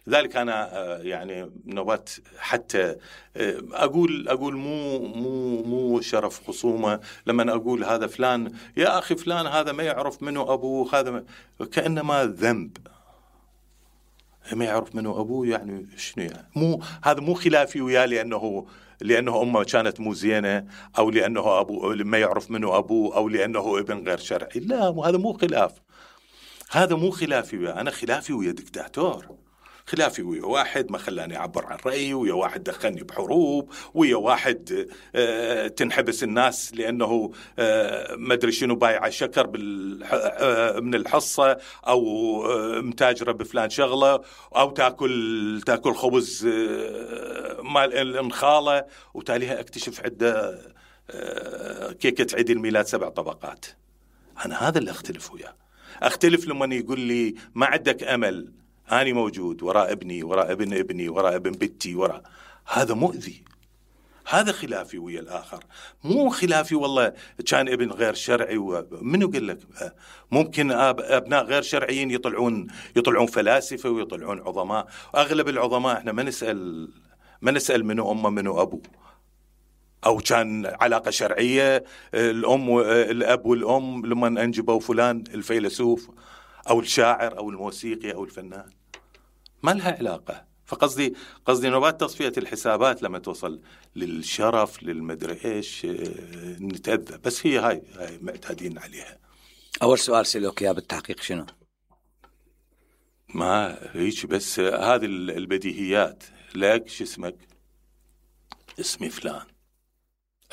لذلك أنا يعني نوبات حتى أقول مو شرف خصومة لما أقول هذا فلان، يا أخي فلان هذا ما يعرف منه أبوه، هذا كأنما ذنب ما يعرف منه أبوه. يعني شنو يعني؟ هذا مو خلافي وياه لأنه أمه كانت مو زينة، أو لأنه أبوه ما يعرف منه أبوه، أو لأنه ابن غير شرعي. لا هذا مو خلاف، هذا مو خلافي وياه. أنا خلافي ويا دكتاتور، خلافي ويا واحد ما خلاني أعبر عن رأيي، ويا واحد دخلني بحروب، ويا واحد تنحبس الناس لأنه ما أدري شنو بايع شكر من الحصة، أو متاجرة بفلان شغلة، أو تاكل خبز مال الانخالة، وتاليها أكتشف عدة كيكة عيد الميلاد 7 طبقات. أنا هذا اللي أختلف وياه. أختلف لما يقول لي ما عندك أمل، أنا موجود وراء ابني، وراء ابن ابني، وراء ابن بنتي، هذا مؤذي. هذا خلافي ويا الآخر، مو خلافي والله كان ابن غير شرعي. منو قال لك؟ ممكن أبناء غير شرعيين يطلعون فلاسفة ويطلعون عظماء. أغلب العظماء احنا ما نسأل منو أمه منو أبوه، أو كان علاقة شرعية الأب والأم لما أنجبوا فلان الفيلسوف أو الشاعر أو الموسيقي أو الفنان، ما لها علاقة. فقصدي نوبات تصفية الحسابات لما توصل للشرف للمدري إيش نتأذى. بس هاي معتادين عليها.
أول سؤال سألوك يا بالتحقيق شنو؟
ما هيك بس هذه البديهيات. لك شو اسمك؟ اسمي فلان،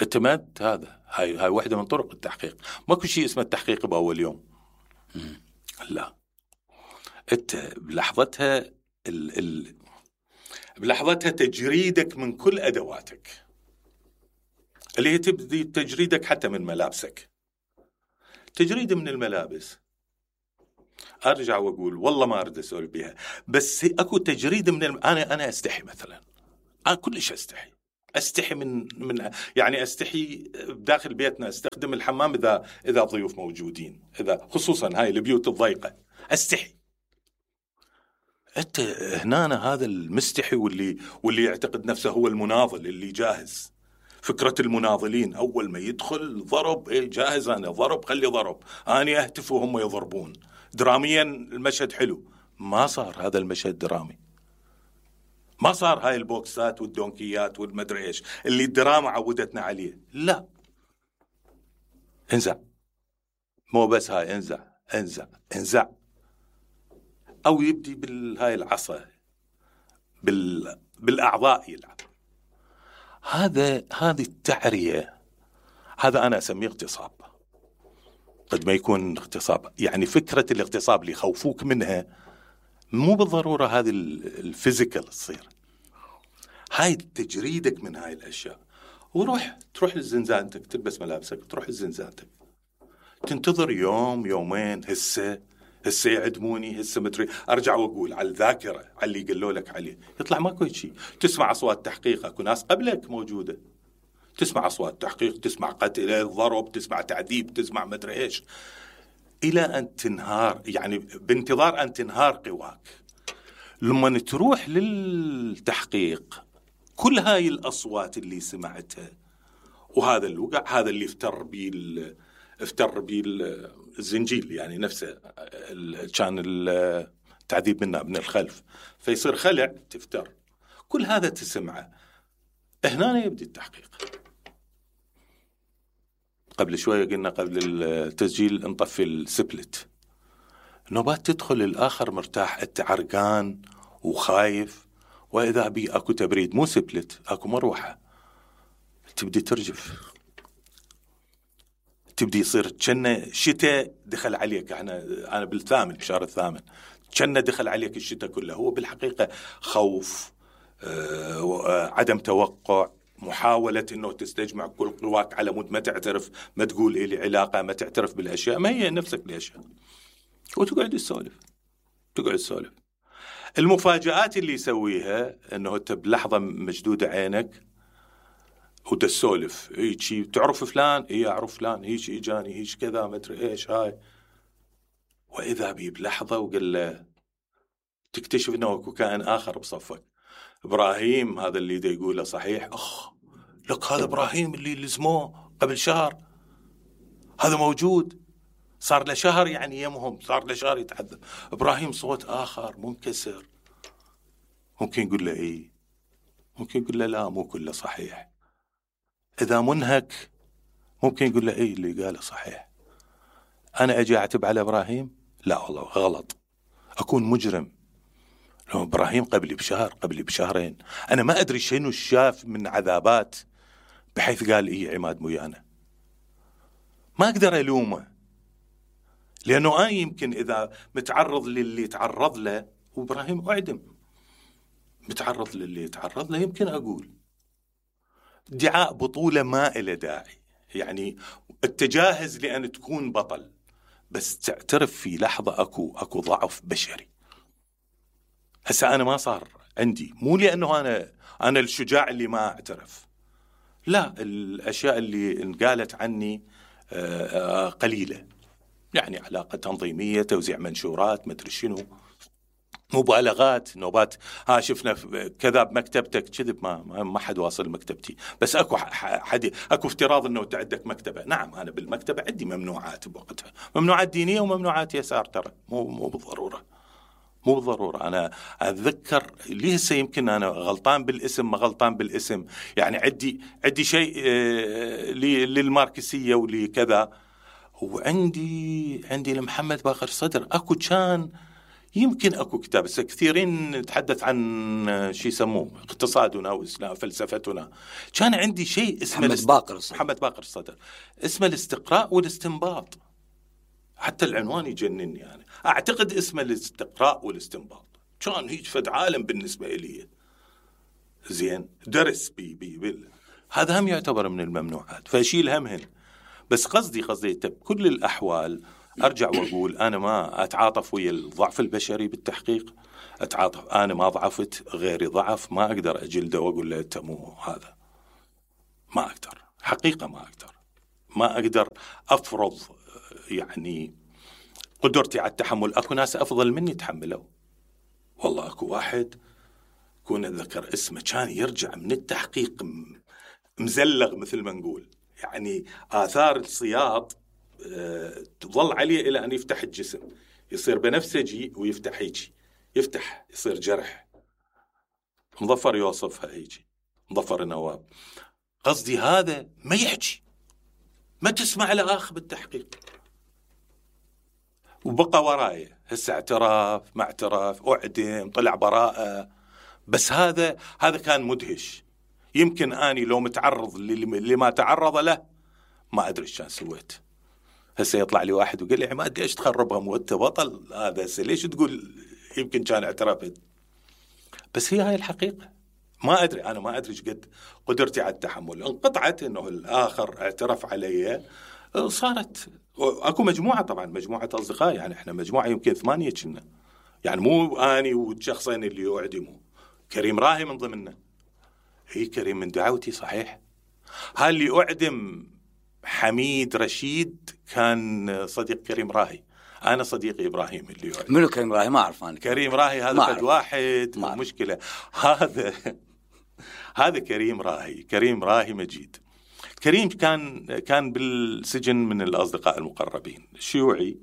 اعتمدت. هذا هاي واحدة من طرق التحقيق. ماكو شيء اسمه التحقيق بأول يوم. لا، انت بلحظتها بلحظتها تجريدك من كل أدواتك، اللي هي تبدي تجريدك حتى من ملابسك. تجريد من الملابس، أرجع وأقول والله ما أريد أسولف بها، بس أكو تجريد من أنا أستحي مثلا، أنا كلش أستحي من يعني أستحي داخل بيتنا أستخدم الحمام إذا ضيوف موجودين، إذا خصوصا هاي البيوت الضيقة أستحي. أنت هنا هذا المستحي واللي يعتقد نفسه هو المناضل اللي جاهز. فكرة المناضلين أول ما يدخل ضرب، جاهز أنا ضرب، خلي ضرب، أنا أهتف وهم يضربون. دراميا المشهد حلو، ما صار هذا المشهد درامي، ما صار هاي البوكسات والدونكيات والمدري إيش اللي الدراما عودتنا عليه. لا، انزع، مو بس هاي انزع أو يبدي بالهاي العصا بالأعضاء يلعب. هذه التعرية، هذا أنا أسميه اغتصاب. قد ما يكون اغتصاب، يعني فكرة الاغتصاب اللي يخوفوك منها مو بالضرورة هذه الفيزيكال تصير، هاي تجريدك من هاي الأشياء. تروح لزنزانتك، تلبس ملابسك، تروح لزنزانتك، تنتظر يوم يومين، هسه يعدموني، هسه مدري. أرجع وأقول على الذاكرة، على اللي قالوا لك عليه، يطلع ماكو شيء. تسمع أصوات تحقيق، أكو ناس قبلك موجودة، تسمع أصوات تحقيق، تسمع قتل، ضرب، تسمع تعذيب، تسمع مدري إيش، إلى أن تنهار، يعني بانتظار أن تنهار قواك. لما تروح للتحقيق، كل هاي الأصوات اللي سمعتها وهذا الوقع، هذا اللي افتر بي الزنجيل، يعني نفسه كان التعذيب من الخلف، فيصير خلع، تفتر، كل هذا تسمعه. هنا يبدي التحقيق. قبل شوية قلنا قبل التسجيل نطفي السبلت، نوبات تدخل الآخر مرتاح، أنت عرقان وخايف، وإذا بي أكو تبريد، مو سبلت، أكو مروحة، تبدي ترجف، تبدي يصير كأنه شتاء دخل عليك. أنا بالثامن، بشهر الثامن، كأنه دخل عليك الشتاء كله. هو بالحقيقة خوف، عدم توقع، محاولة إنه تستجمع كل قواك على مود ما تعترف، ما تقول إلي علاقة، ما تعترف بالأشياء، ما هي نفسك الأشياء، وتقعد تسولف. المفاجآت اللي يسويها إنه أنت بلحظة مجدودة عينك وتسولف، هيك تعرف فلان، أعرف فلان، هيك إجاني، هيك كذا، ما أدري إيش هاي، وإذا بي بلحظة وقال له، تكتشف إنه أكو كائن آخر بصفك. إبراهيم هذا اللي دا يقوله صحيح، لك هذا إبراهيم اللي لزموه قبل شهر، هذا موجود، صار له شهر، يعني يمهم صار له شهر يتعذب. إبراهيم صوت آخر منكسر، ممكن يقول له إيه، ممكن يقول له لا، مو كله صحيح. إذا منهك ممكن يقول له إيه اللي قاله صحيح. أنا أجي أعتب على إبراهيم؟ لا والله غلط، أكون مجرم. لو إبراهيم قبلي بشهر، قبلي بشهرين، أنا ما أدري شنو شاف من عذابات بحيث قال إيه عماد ميانا. ما أقدر ألومه، لأنه أنا يمكن إذا متعرض للي تعرض له، وإبراهيم أعدم، متعرض للي تعرض له، يمكن أقول ادعاء بطولة ما إلى داعي. يعني التجاهز لأن تكون بطل، بس تعترف في لحظة أكو ضعف بشري. هسا أنا ما صار عندي، مو لأنه أنا الشجاع اللي ما أعترف، لا، الأشياء اللي انقالت عني قليلة، يعني علاقة تنظيمية، توزيع منشورات، ما أدري شنو، مبالغات، نوبات، شفنا كذا بمكتبتك، كذب، ما حد واصل مكتبتي، بس اكو افتراض انه انت عندك مكتبه. نعم، انا بالمكتبه عندي ممنوعات بوقتها، ممنوعات دينيه وممنوعات يسار، ترى مو بالضروره. انا اتذكر ليه هسه يمكن انا غلطان بالاسم، ما غلطان بالاسم، يعني عندي شيء للماركسيه ولكذا، وعندي لمحمد باقر صدر. اكو كان يمكن اكو كتاب، بس كثيرين نتحدث عن شيء يسموه اقتصادنا واسلام فلسفتنا. كان عندي شيء اسمه محمد باقر الصدر، اسمه الاستقراء والاستنباط. حتى العنوان يجنني يعني. اعتقد اسمه الاستقراء والاستنباط. كان هيك فد عالم بالنسبه لي. زين درس هذا هم يعتبر من الممنوعات، فاشيل همهن. بس قصدي بكل الاحوال ارجع واقول انا ما اتعاطف ويا الضعف البشري بالتحقيق. اتعاطف، انا ما ضعفت، غيري ضعف، ما اقدر اجلده واقول له انت مو هذا. ما اقدر، حقيقه ما اقدر افرض يعني قدرتي على التحمل. اكو ناس افضل مني تحملوا. والله اكو واحد كون اتذكر اسمه، كان يرجع من التحقيق مزلغ مثل ما نقول، يعني آثار الصياط تظل عليه إلى أن يفتح الجسم، يصير بنفسجي ويفتح هيجي، يفتح يصير جرح. مظفر يوصفها هيجي، مظفر النواب. قصدي هذا ما يحكي، ما تسمع له آخ بالتحقيق، وبقى ورايه هسه اعتراف ما اعتراف، أعدم، طلع براءة. بس هذا كان مدهش. يمكن أني لو متعرض لما تعرض له ما أدري شان سويت. هسه يطلع لي واحد وقال لي عماد ليش تخربها وانت بطل هذا، هسه ليش تقول يمكن كان اعترفت؟ بس هي هاي الحقيقة. ما أدري، أنا ما أدري قد قدرتي على التحمل. انقطعت إنه الآخر اعترف علي، صارت أكو مجموعة، طبعا مجموعة أصدقاء، يعني إحنا مجموعة يمكن 8 كنا، يعني مو أني والشخصين اللي يعدموا. كريم راهي من ضمننا. هي كريم من دعوتي صحيح. هاي اللي أعدم حميد رشيد كان صديق كريم راهي. أنا صديقي إبراهيم اللي يعدم.
منو كريم راهي؟ ما أعرف أنا.
كريم راهي هذا فد واحد مشكلة. هذا كريم راهي. كريم راهي مجيد. كريم كان بالسجن من الأصدقاء المقربين، شيوعي.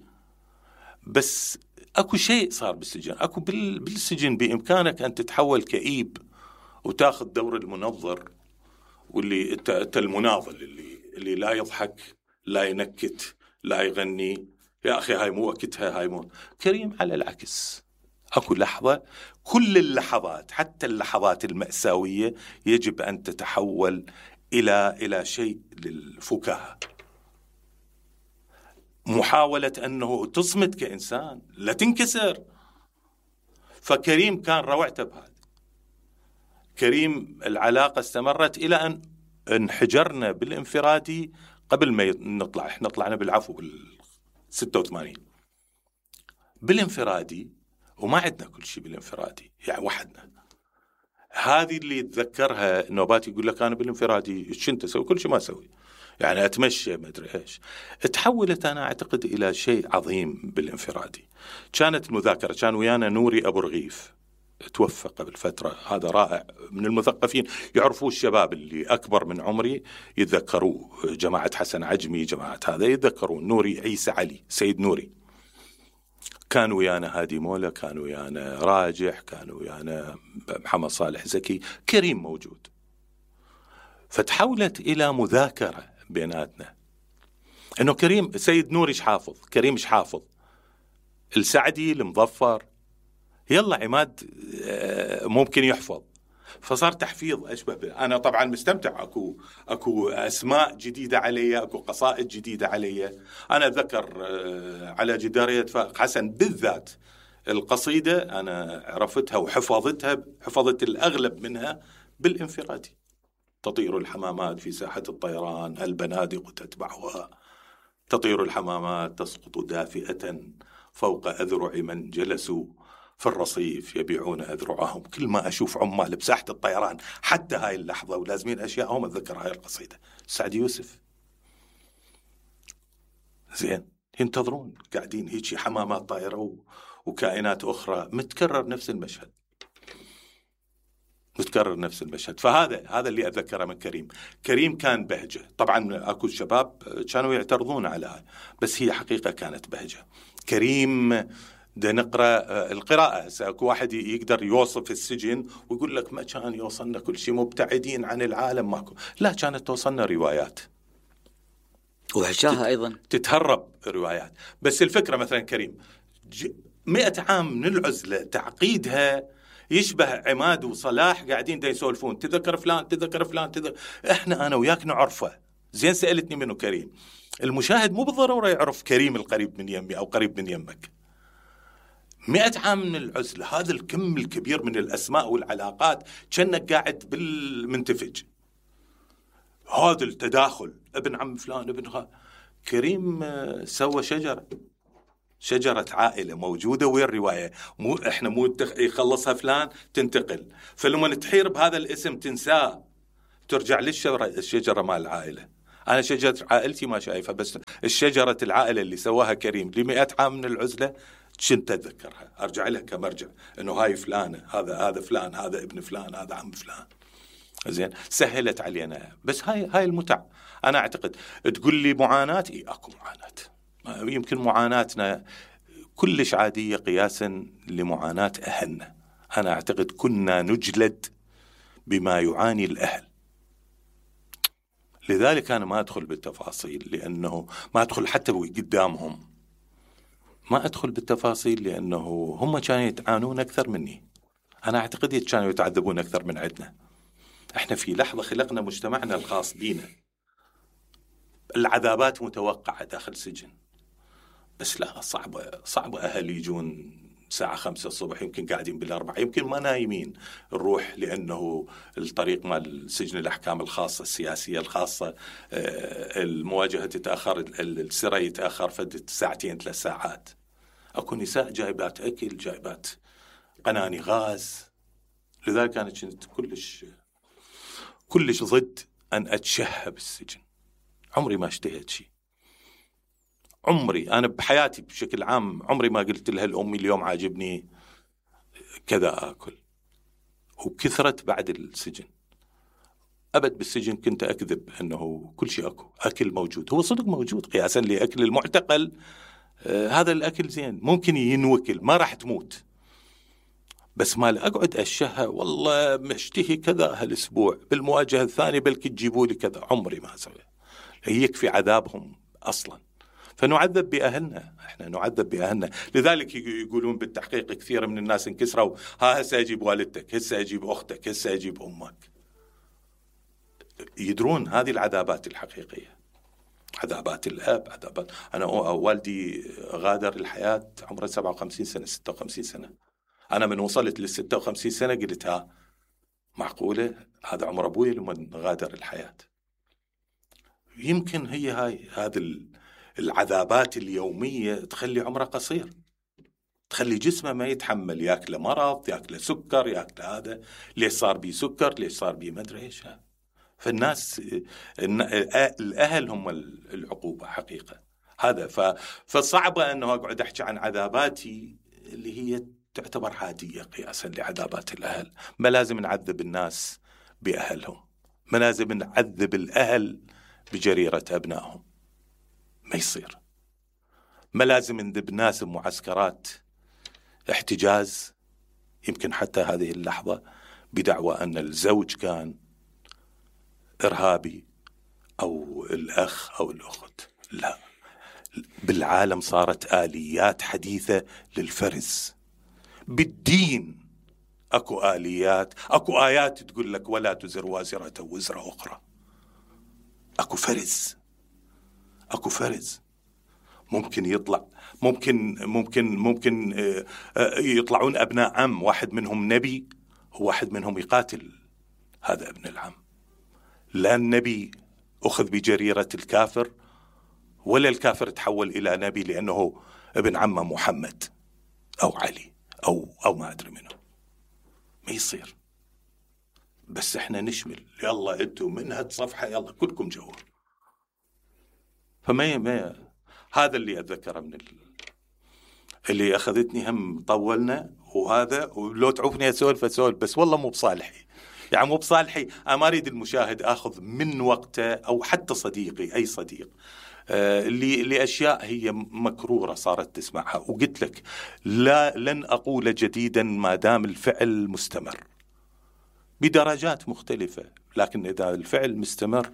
بس أكو شيء صار بالسجن. أكو بالسجن بإمكانك أن تتحول كئيب وتاخذ دور المنظر، واللي أنت المناضل اللي لا يضحك، لا ينكت، لا يغني. يا أخي هاي مو وقتها، هاي مو. كريم على العكس. أكو لحظة، كل اللحظات حتى اللحظات المأساوية يجب أن تتحول إلى شيء للفكاهة، محاولة أنه تصمت كإنسان، لا تنكسر. فكريم كان روعته بهذا. كريم العلاقة استمرت إلى أن انحجرنا بالانفرادي قبل ما نطلع. احنا طلعنا بالعفو بال86 بالانفرادي، وما عندنا كل شيء بالانفرادي، يعني وحدنا. هذه اللي يتذكرها نوبات يقول لك أنا بالانفرادي شنت أسوي؟ كل شيء ما أسوي، يعني أتمشى ما أدري إيش. تحولت أنا أعتقد إلى شيء عظيم بالانفرادي. كانت المذاكرة، كان ويانا نوري أبو رغيف، توفى قبل فترة. هذا رائع، من المثقفين، يعرفوه الشباب اللي أكبر من عمري يتذكروه، جماعة حسن عجمي، جماعة هذا يتذكرون. نوري عيسى علي، سيد نوري، كان ويانا هادي مولا، كان ويانا راجح، كان ويانا محمد صالح زكي. كريم موجود. فتحولت إلى مذاكرة بيناتنا، إنه كريم سيد نوري إيش حافظ، كريم إيش حافظ، السعدي المظفر، يلا عماد ممكن يحفظ. فصار تحفيظ أشبه أنا طبعا مستمتع. أكو أسماء جديدة علي، أكو قصائد جديدة علي. أنا أذكر على جدارية فائق حسن بالذات القصيدة أنا عرفتها وحفظتها، حفظت الأغلب منها بالانفرادي. تطير الحمامات في ساحة الطيران، البنادق تتبعها، تطير الحمامات تسقط دافئة فوق أذرع من جلسوا في الرصيف يبيعون أذرعهم. كل ما أشوف عمال بساحة الطيران حتى هاي اللحظة ولازمين أشياءهم أتذكر هاي القصيدة. سعد يوسف. زين، ينتظرون قاعدين هيك حمامات طائرة وكائنات أخرى، متكرر نفس المشهد، متكرر نفس المشهد. فهذا اللي أتذكره من كريم. كريم كان بهجة. طبعا أكو الشباب كانوا يعترضون على هاي، بس هي حقيقة كانت بهجة. كريم ده نقرأ القراءة. اكو واحد يقدر يوصف السجن ويقول لك ما كان يوصلنا كل شيء، مبتعدين عن العالم، ماكو. لا، كانت توصلنا روايات
وعشاها أيضا
تتهرب روايات. بس الفكرة مثلا كريم 100 عام من العزلة تعقيدها يشبه عماد وصلاح قاعدين دا يسولفون تذكر فلان. احنا انا وياك نعرفه زين. سألتني منه كريم، المشاهد مو بالضرورة يعرف كريم القريب من يمي او قريب من يمك. 100 عام من العزلة، هذا الكم الكبير من الاسماء والعلاقات، كأنك قاعد بالمنتفج. هذا التداخل، ابن عم فلان ابن كريم سوى شجرة عائلة موجودة. وين الرواية؟ احنا مو يخلصها فلان تنتقل، فلما تحير بهذا الاسم تنساه، ترجع للشجرة مال العائلة. أنا شجرة عائلتي ما شايفها، بس الشجرة العائلة اللي سواها كريم ل100 عام من العزلة كنت أتذكرها، أرجع لها كمرجع، إنه هاي فلانة، هذا فلان، هذا ابن فلان، هذا عم فلان. زين، سهلت علينا. بس هاي المتع. أنا أعتقد تقول لي معاناة، أكو معاناة، يمكن معاناتنا كلش عادية قياسا لمعاناة أهلنا. أنا أعتقد كنا نجلد بما يعاني الأهل، لذلك أنا ما أدخل بالتفاصيل، لأنه ما أدخل حتى قدامهم، ما أدخل بالتفاصيل لأنه هم كانوا يتعانون أكثر مني. أنا أعتقد كانوا يتعذبون أكثر من عندنا. إحنا في لحظة خلقنا مجتمعنا الخاص بينا، العذابات متوقعة داخل سجن، بس لا، صعبة أهل يجون الساعة 5 الصبح، يمكن قاعدين بالأربعة، يمكن ما نايمين نروح، لأنه الطريق مال سجن الأحكام الخاصة السياسية الخاصة، المواجهة تتأخر، السرى يتأخر فدت 2 3 ساعات. أكو نساء جايبات أكل، جايبات قناني غاز. لذلك أنا كنت كلش ضد أن أتشهى بالسجن. عمري ما اشتهيت شيء، عمري أنا بحياتي بشكل عام عمري ما قلت لها الأمي اليوم عاجبني كذا أكل. وكثرت بعد السجن، أبد بالسجن كنت أكذب أنه كل شيء أكل موجود. هو صدق موجود قياسا لأكل المعتقل. هذا الأكل زين، ممكن ينوكل، ما راح تموت، بس ما أقعد أشهى والله مشتهي كذا هالأسبوع، بالمواجهة الثانية بلكي تجيبوا لي كذا. عمري ما سوي. يكفي عذابهم أصلا. فنعذب بأهلنا، احنا نعذب بأهلنا. لذلك يقولون بالتحقيق كثير من الناس انكسروا، هسه أجيب والدتك، هسه أجيب أختك، هسه أجيب أمك. يدرون هذه العذابات الحقيقية، عذابات الأب، عذابات. أنا والدي غادر الحياة عمره 57 سنة 56 سنة. أنا من وصلت لل56 سنة قلت معقولة هذا عمر أبوي لما غادر الحياة. يمكن هذه العذابات اليومية تخلي عمره قصير، تخلي جسمه ما يتحمل، ياكله مرض، ياكله سكر، ياكله هذا، ليش صار بي سكر، ليش صار بي ما أدري إيش. فالناس الأهل هم العقوبة حقيقة. هذا فصعبة أنه أقعد أحكي عن عذاباتي اللي هي تعتبر عادية قياسا لعذابات الأهل. ما لازم نعذب الناس بأهلهم، ما لازم نعذب الأهل بجريرة أبنائهم، ما يصير. ما لازم نذب ناس بمعسكرات احتجاز، يمكن حتى هذه اللحظة بدعوى أن الزوج كان إرهابي أو الأخ أو الأخت. لا، بالعالم صارت آليات حديثة للفرز. بالدين أكو آليات، أكو آيات تقول لك ولا تزر وازرة وزر أخرى. أكو فرز ممكن يطلع، ممكن يطلعون أبناء عم، واحد منهم نبي وواحد منهم يقاتل هذا ابن العم. لا النبي أخذ بجريرة الكافر، ولا الكافر تحول إلى نبي لأنه ابن عمه محمد أو علي أو ما أدري منه. ما يصير. بس احنا نشمل، يلا انتوا من هالصفحة يلا كلكم جوا. فما هذا اللي أتذكره من اللي أخذتني. هم طولنا وهذا، ولو تعوفني أسولف بس والله مو بصالحي، يعني مو بصالحي. أنا ما أريد المشاهد أخذ من وقته، أو حتى صديقي أي صديق لأشياء هي مكرورة صارت تسمعها. وقلت لك لن أقول جديدا ما دام الفعل مستمر بدرجات مختلفة، لكن إذا الفعل مستمر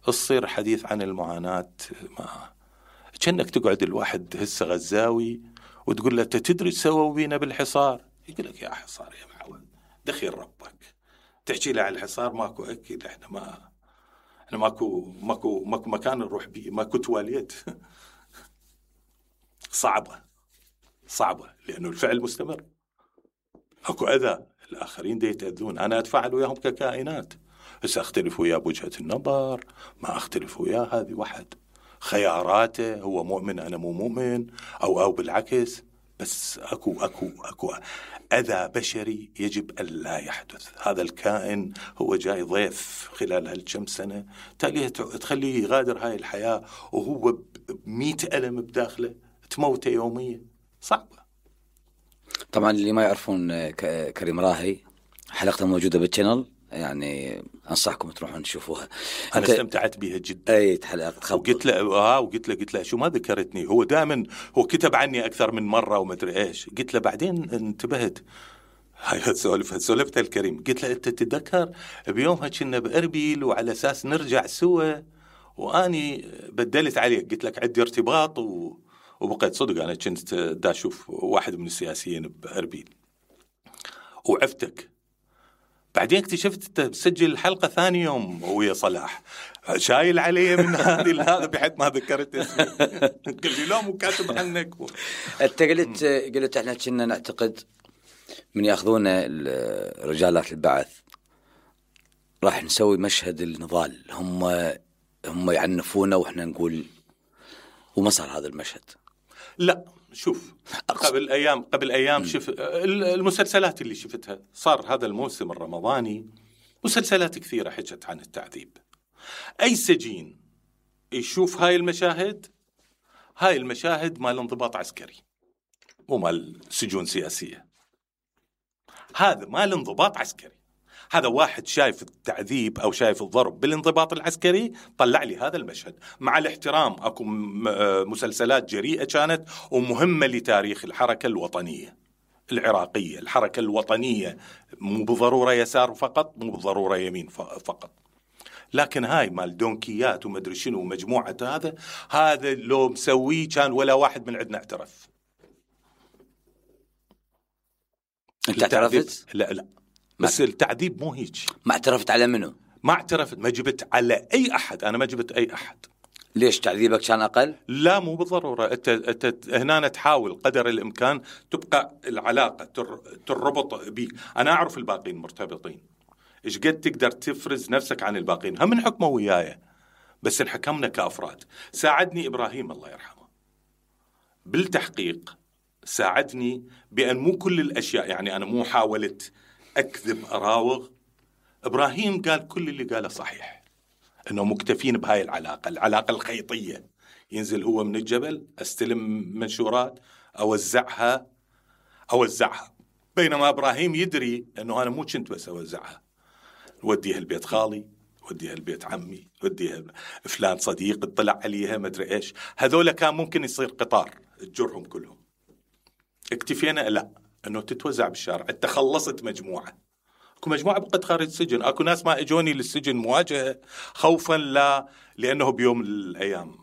تصير حديث عن المعاناة. ما كأنك تقعد الواحد هسه غزاوي وتقول له تدري سووا بينا بالحصار؟ يقول لك يا حصار يا معود دخيل ربك، تحكي له على الحصار ماكو أكيد، احنا ماكو مكان نروح بيه، ماكو تواليت. صعبة لأنه الفعل مستمر، اكو أذى، الآخرين دي يتأذون، أنا أتفاعل وياهم ككائنات، بس أختلف وياه بوجهة النظر، ما أختلف وياه، هذه واحد خياراته، هو مؤمن أنا مو مؤمن، أو بالعكس، بس أكو أذى بشري يجب أن لا يحدث. هذا الكائن هو جاي ضيف خلال هالكم سنة، تالي تخليه يغادر هاي الحياة وهو ب100 ألم بداخله، تموته يوميا، صعبة.
طبعا اللي ما يعرفون كريم راهي حلقته موجودة بالشانل، يعني أنصحكم تروحون تشوفوها.
أنا استمتعت بها جدا.
أي حلقة
وقلت له شو ما ذكرتني، هو دائما هو كتب عني أكثر من مرة وما أدري إيش، قلت له بعدين انتبهت، هاي سولفتها الكريم، قلت له أنت تتذكر بيومها كنا بأربيل وعلى أساس نرجع سوا، وأني بدلت عليك، قلت لك عندي ارتباط وبقيت صدق أنا كنت دا أشوف واحد من السياسيين بأربيل وعفتك. بعدين اكتشفت انت بسجل الحلقة ثاني يوم ويا صلاح، شايل علي من هذا بحيث ما ذكرت اسمي. قال لي لا مو كاتب عنك.
انت قلت احنا كنا نعتقد من ياخذونا رجالات البعث راح نسوي مشهد النضال، هم يعنفونا واحنا نقول، وما صار هذا المشهد.
لا شوف، قبل أيام شوف المسلسلات اللي شفتها، صار هذا الموسم الرمضاني مسلسلات كثيرة حكت عن التعذيب. أي سجين يشوف هاي المشاهد مال انضباط عسكري مو مال سجون سياسية، هذا مال انضباط عسكري. هذا واحد شايف التعذيب أو شايف الضرب بالانضباط العسكري، طلع لي هذا المشهد. مع الاحترام أكو مسلسلات جريئة كانت ومهمة لتاريخ الحركة الوطنية العراقية، الحركة الوطنية مو بالضرورة يسار فقط، مو بالضرورة يمين فقط، لكن هاي مال دونكيات ومدري شنو مجموعة هذا لو مسويه كان ولا واحد من عندنا اعترف.
انت اعترفت؟
لا بس التعذيب مو هيك.
ما اعترفت على منو؟
ما اعترفت، ما جبت على أي أحد، أنا ما جبت أي أحد.
ليش تعذيبك كان أقل؟
لا مو بالضرورة، أنت هنا تحاول قدر الإمكان تبقى العلاقة تربط بيك. أنا أعرف الباقين مرتبطين، إيش قد تقدر تفرز نفسك عن الباقين، هم نحكموا وياي بس نحكمنا كأفراد. ساعدني إبراهيم الله يرحمه بالتحقيق، ساعدني بأن مو كل الأشياء، يعني أنا مو حاولت أكذب أراوغ. إبراهيم قال كل اللي قاله صحيح، إنه مكتفين بهاي العلاقة الخيطية. ينزل هو من الجبل، أستلم منشورات، أوزعها، بينما إبراهيم يدري إنه أنا مو كنت بس أوزعها، وديها البيت خالي، وديها البيت عمي، وديها فلان صديق اطلع عليها ما أدري إيش. هذول كان ممكن يصير قطار تجرهم كلهم. اكتفينا لا إنه تتوزع بالشارع. أنت خلصت مجموعة، اكو مجموعة بقت خارج السجن، اكو ناس ما اجوني للسجن مواجهة خوفا لانه بيوم من الايام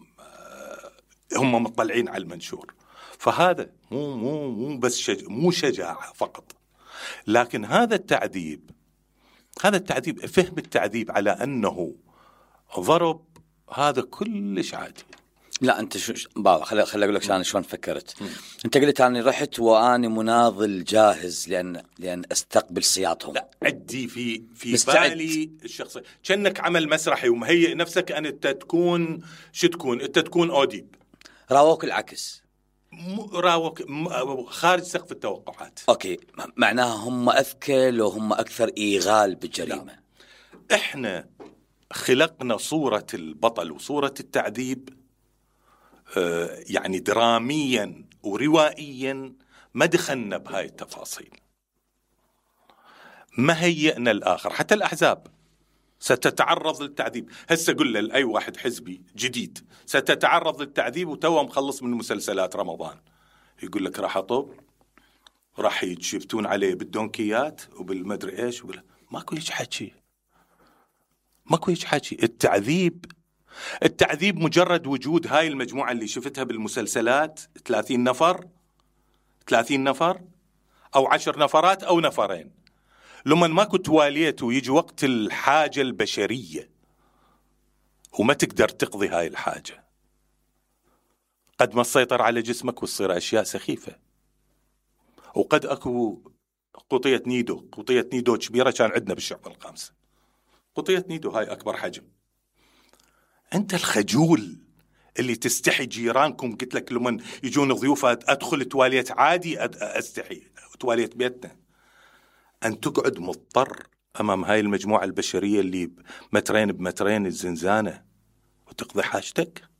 هم مطلعين على المنشور. فهذا مو بس مو شجاعة فقط، لكن هذا التعذيب فهم التعذيب على انه ضرب، هذا كلش عادي.
لا انت بابا خلي اقول لك انا شلون فكرت. انت قلت اني رحت واني مناضل جاهز لان استقبل سياطهم.
لا عدي في بالي الشخصيه كأنك عمل مسرحي ومهيئ نفسك ان انت تكون انت تكون اوديب.
راوك العكس،
راوك خارج سقف التوقعات.
اوكي، معناها هم اذكى لو هم اكثر ايغال بالجريمه.
لا. احنا خلقنا صوره البطل وصوره التعذيب يعني دراميا وروائيا، ما دخلنا بهاي التفاصيل، ما هيئنا الآخر. حتى الأحزاب ستتعرض للتعذيب. هسه قل لأي واحد حزبي جديد ستتعرض للتعذيب وتوه مخلص من مسلسلات رمضان، يقول لك راح أطب، راح يتشفتون عليه بالدونكيات وبالمدري إيش ماكو هيك حكي. التعذيب مجرد وجود هاي المجموعة اللي شفتها بالمسلسلات 30 نفر 30 نفر أو 10 نفرات أو نفرين. لما ماكو تواليت ويجي وقت الحاجة البشرية وما تقدر تقضي هاي الحاجة، قد ما تسيطر على جسمك وتصير أشياء سخيفة. وقد أكو قطية نيدو كبيرة كان عندنا بالشعب الخامسة، قطية نيدو هاي أكبر حجم. أنت الخجول اللي تستحي جيرانكم، قلت لك لمن يجون ضيوفات أدخل تواليت عادي أستحي تواليت بيتنا، أن تقعد مضطر أمام هاي المجموعة البشرية اللي مترين بمترين الزنزانة وتقضي حاجتك.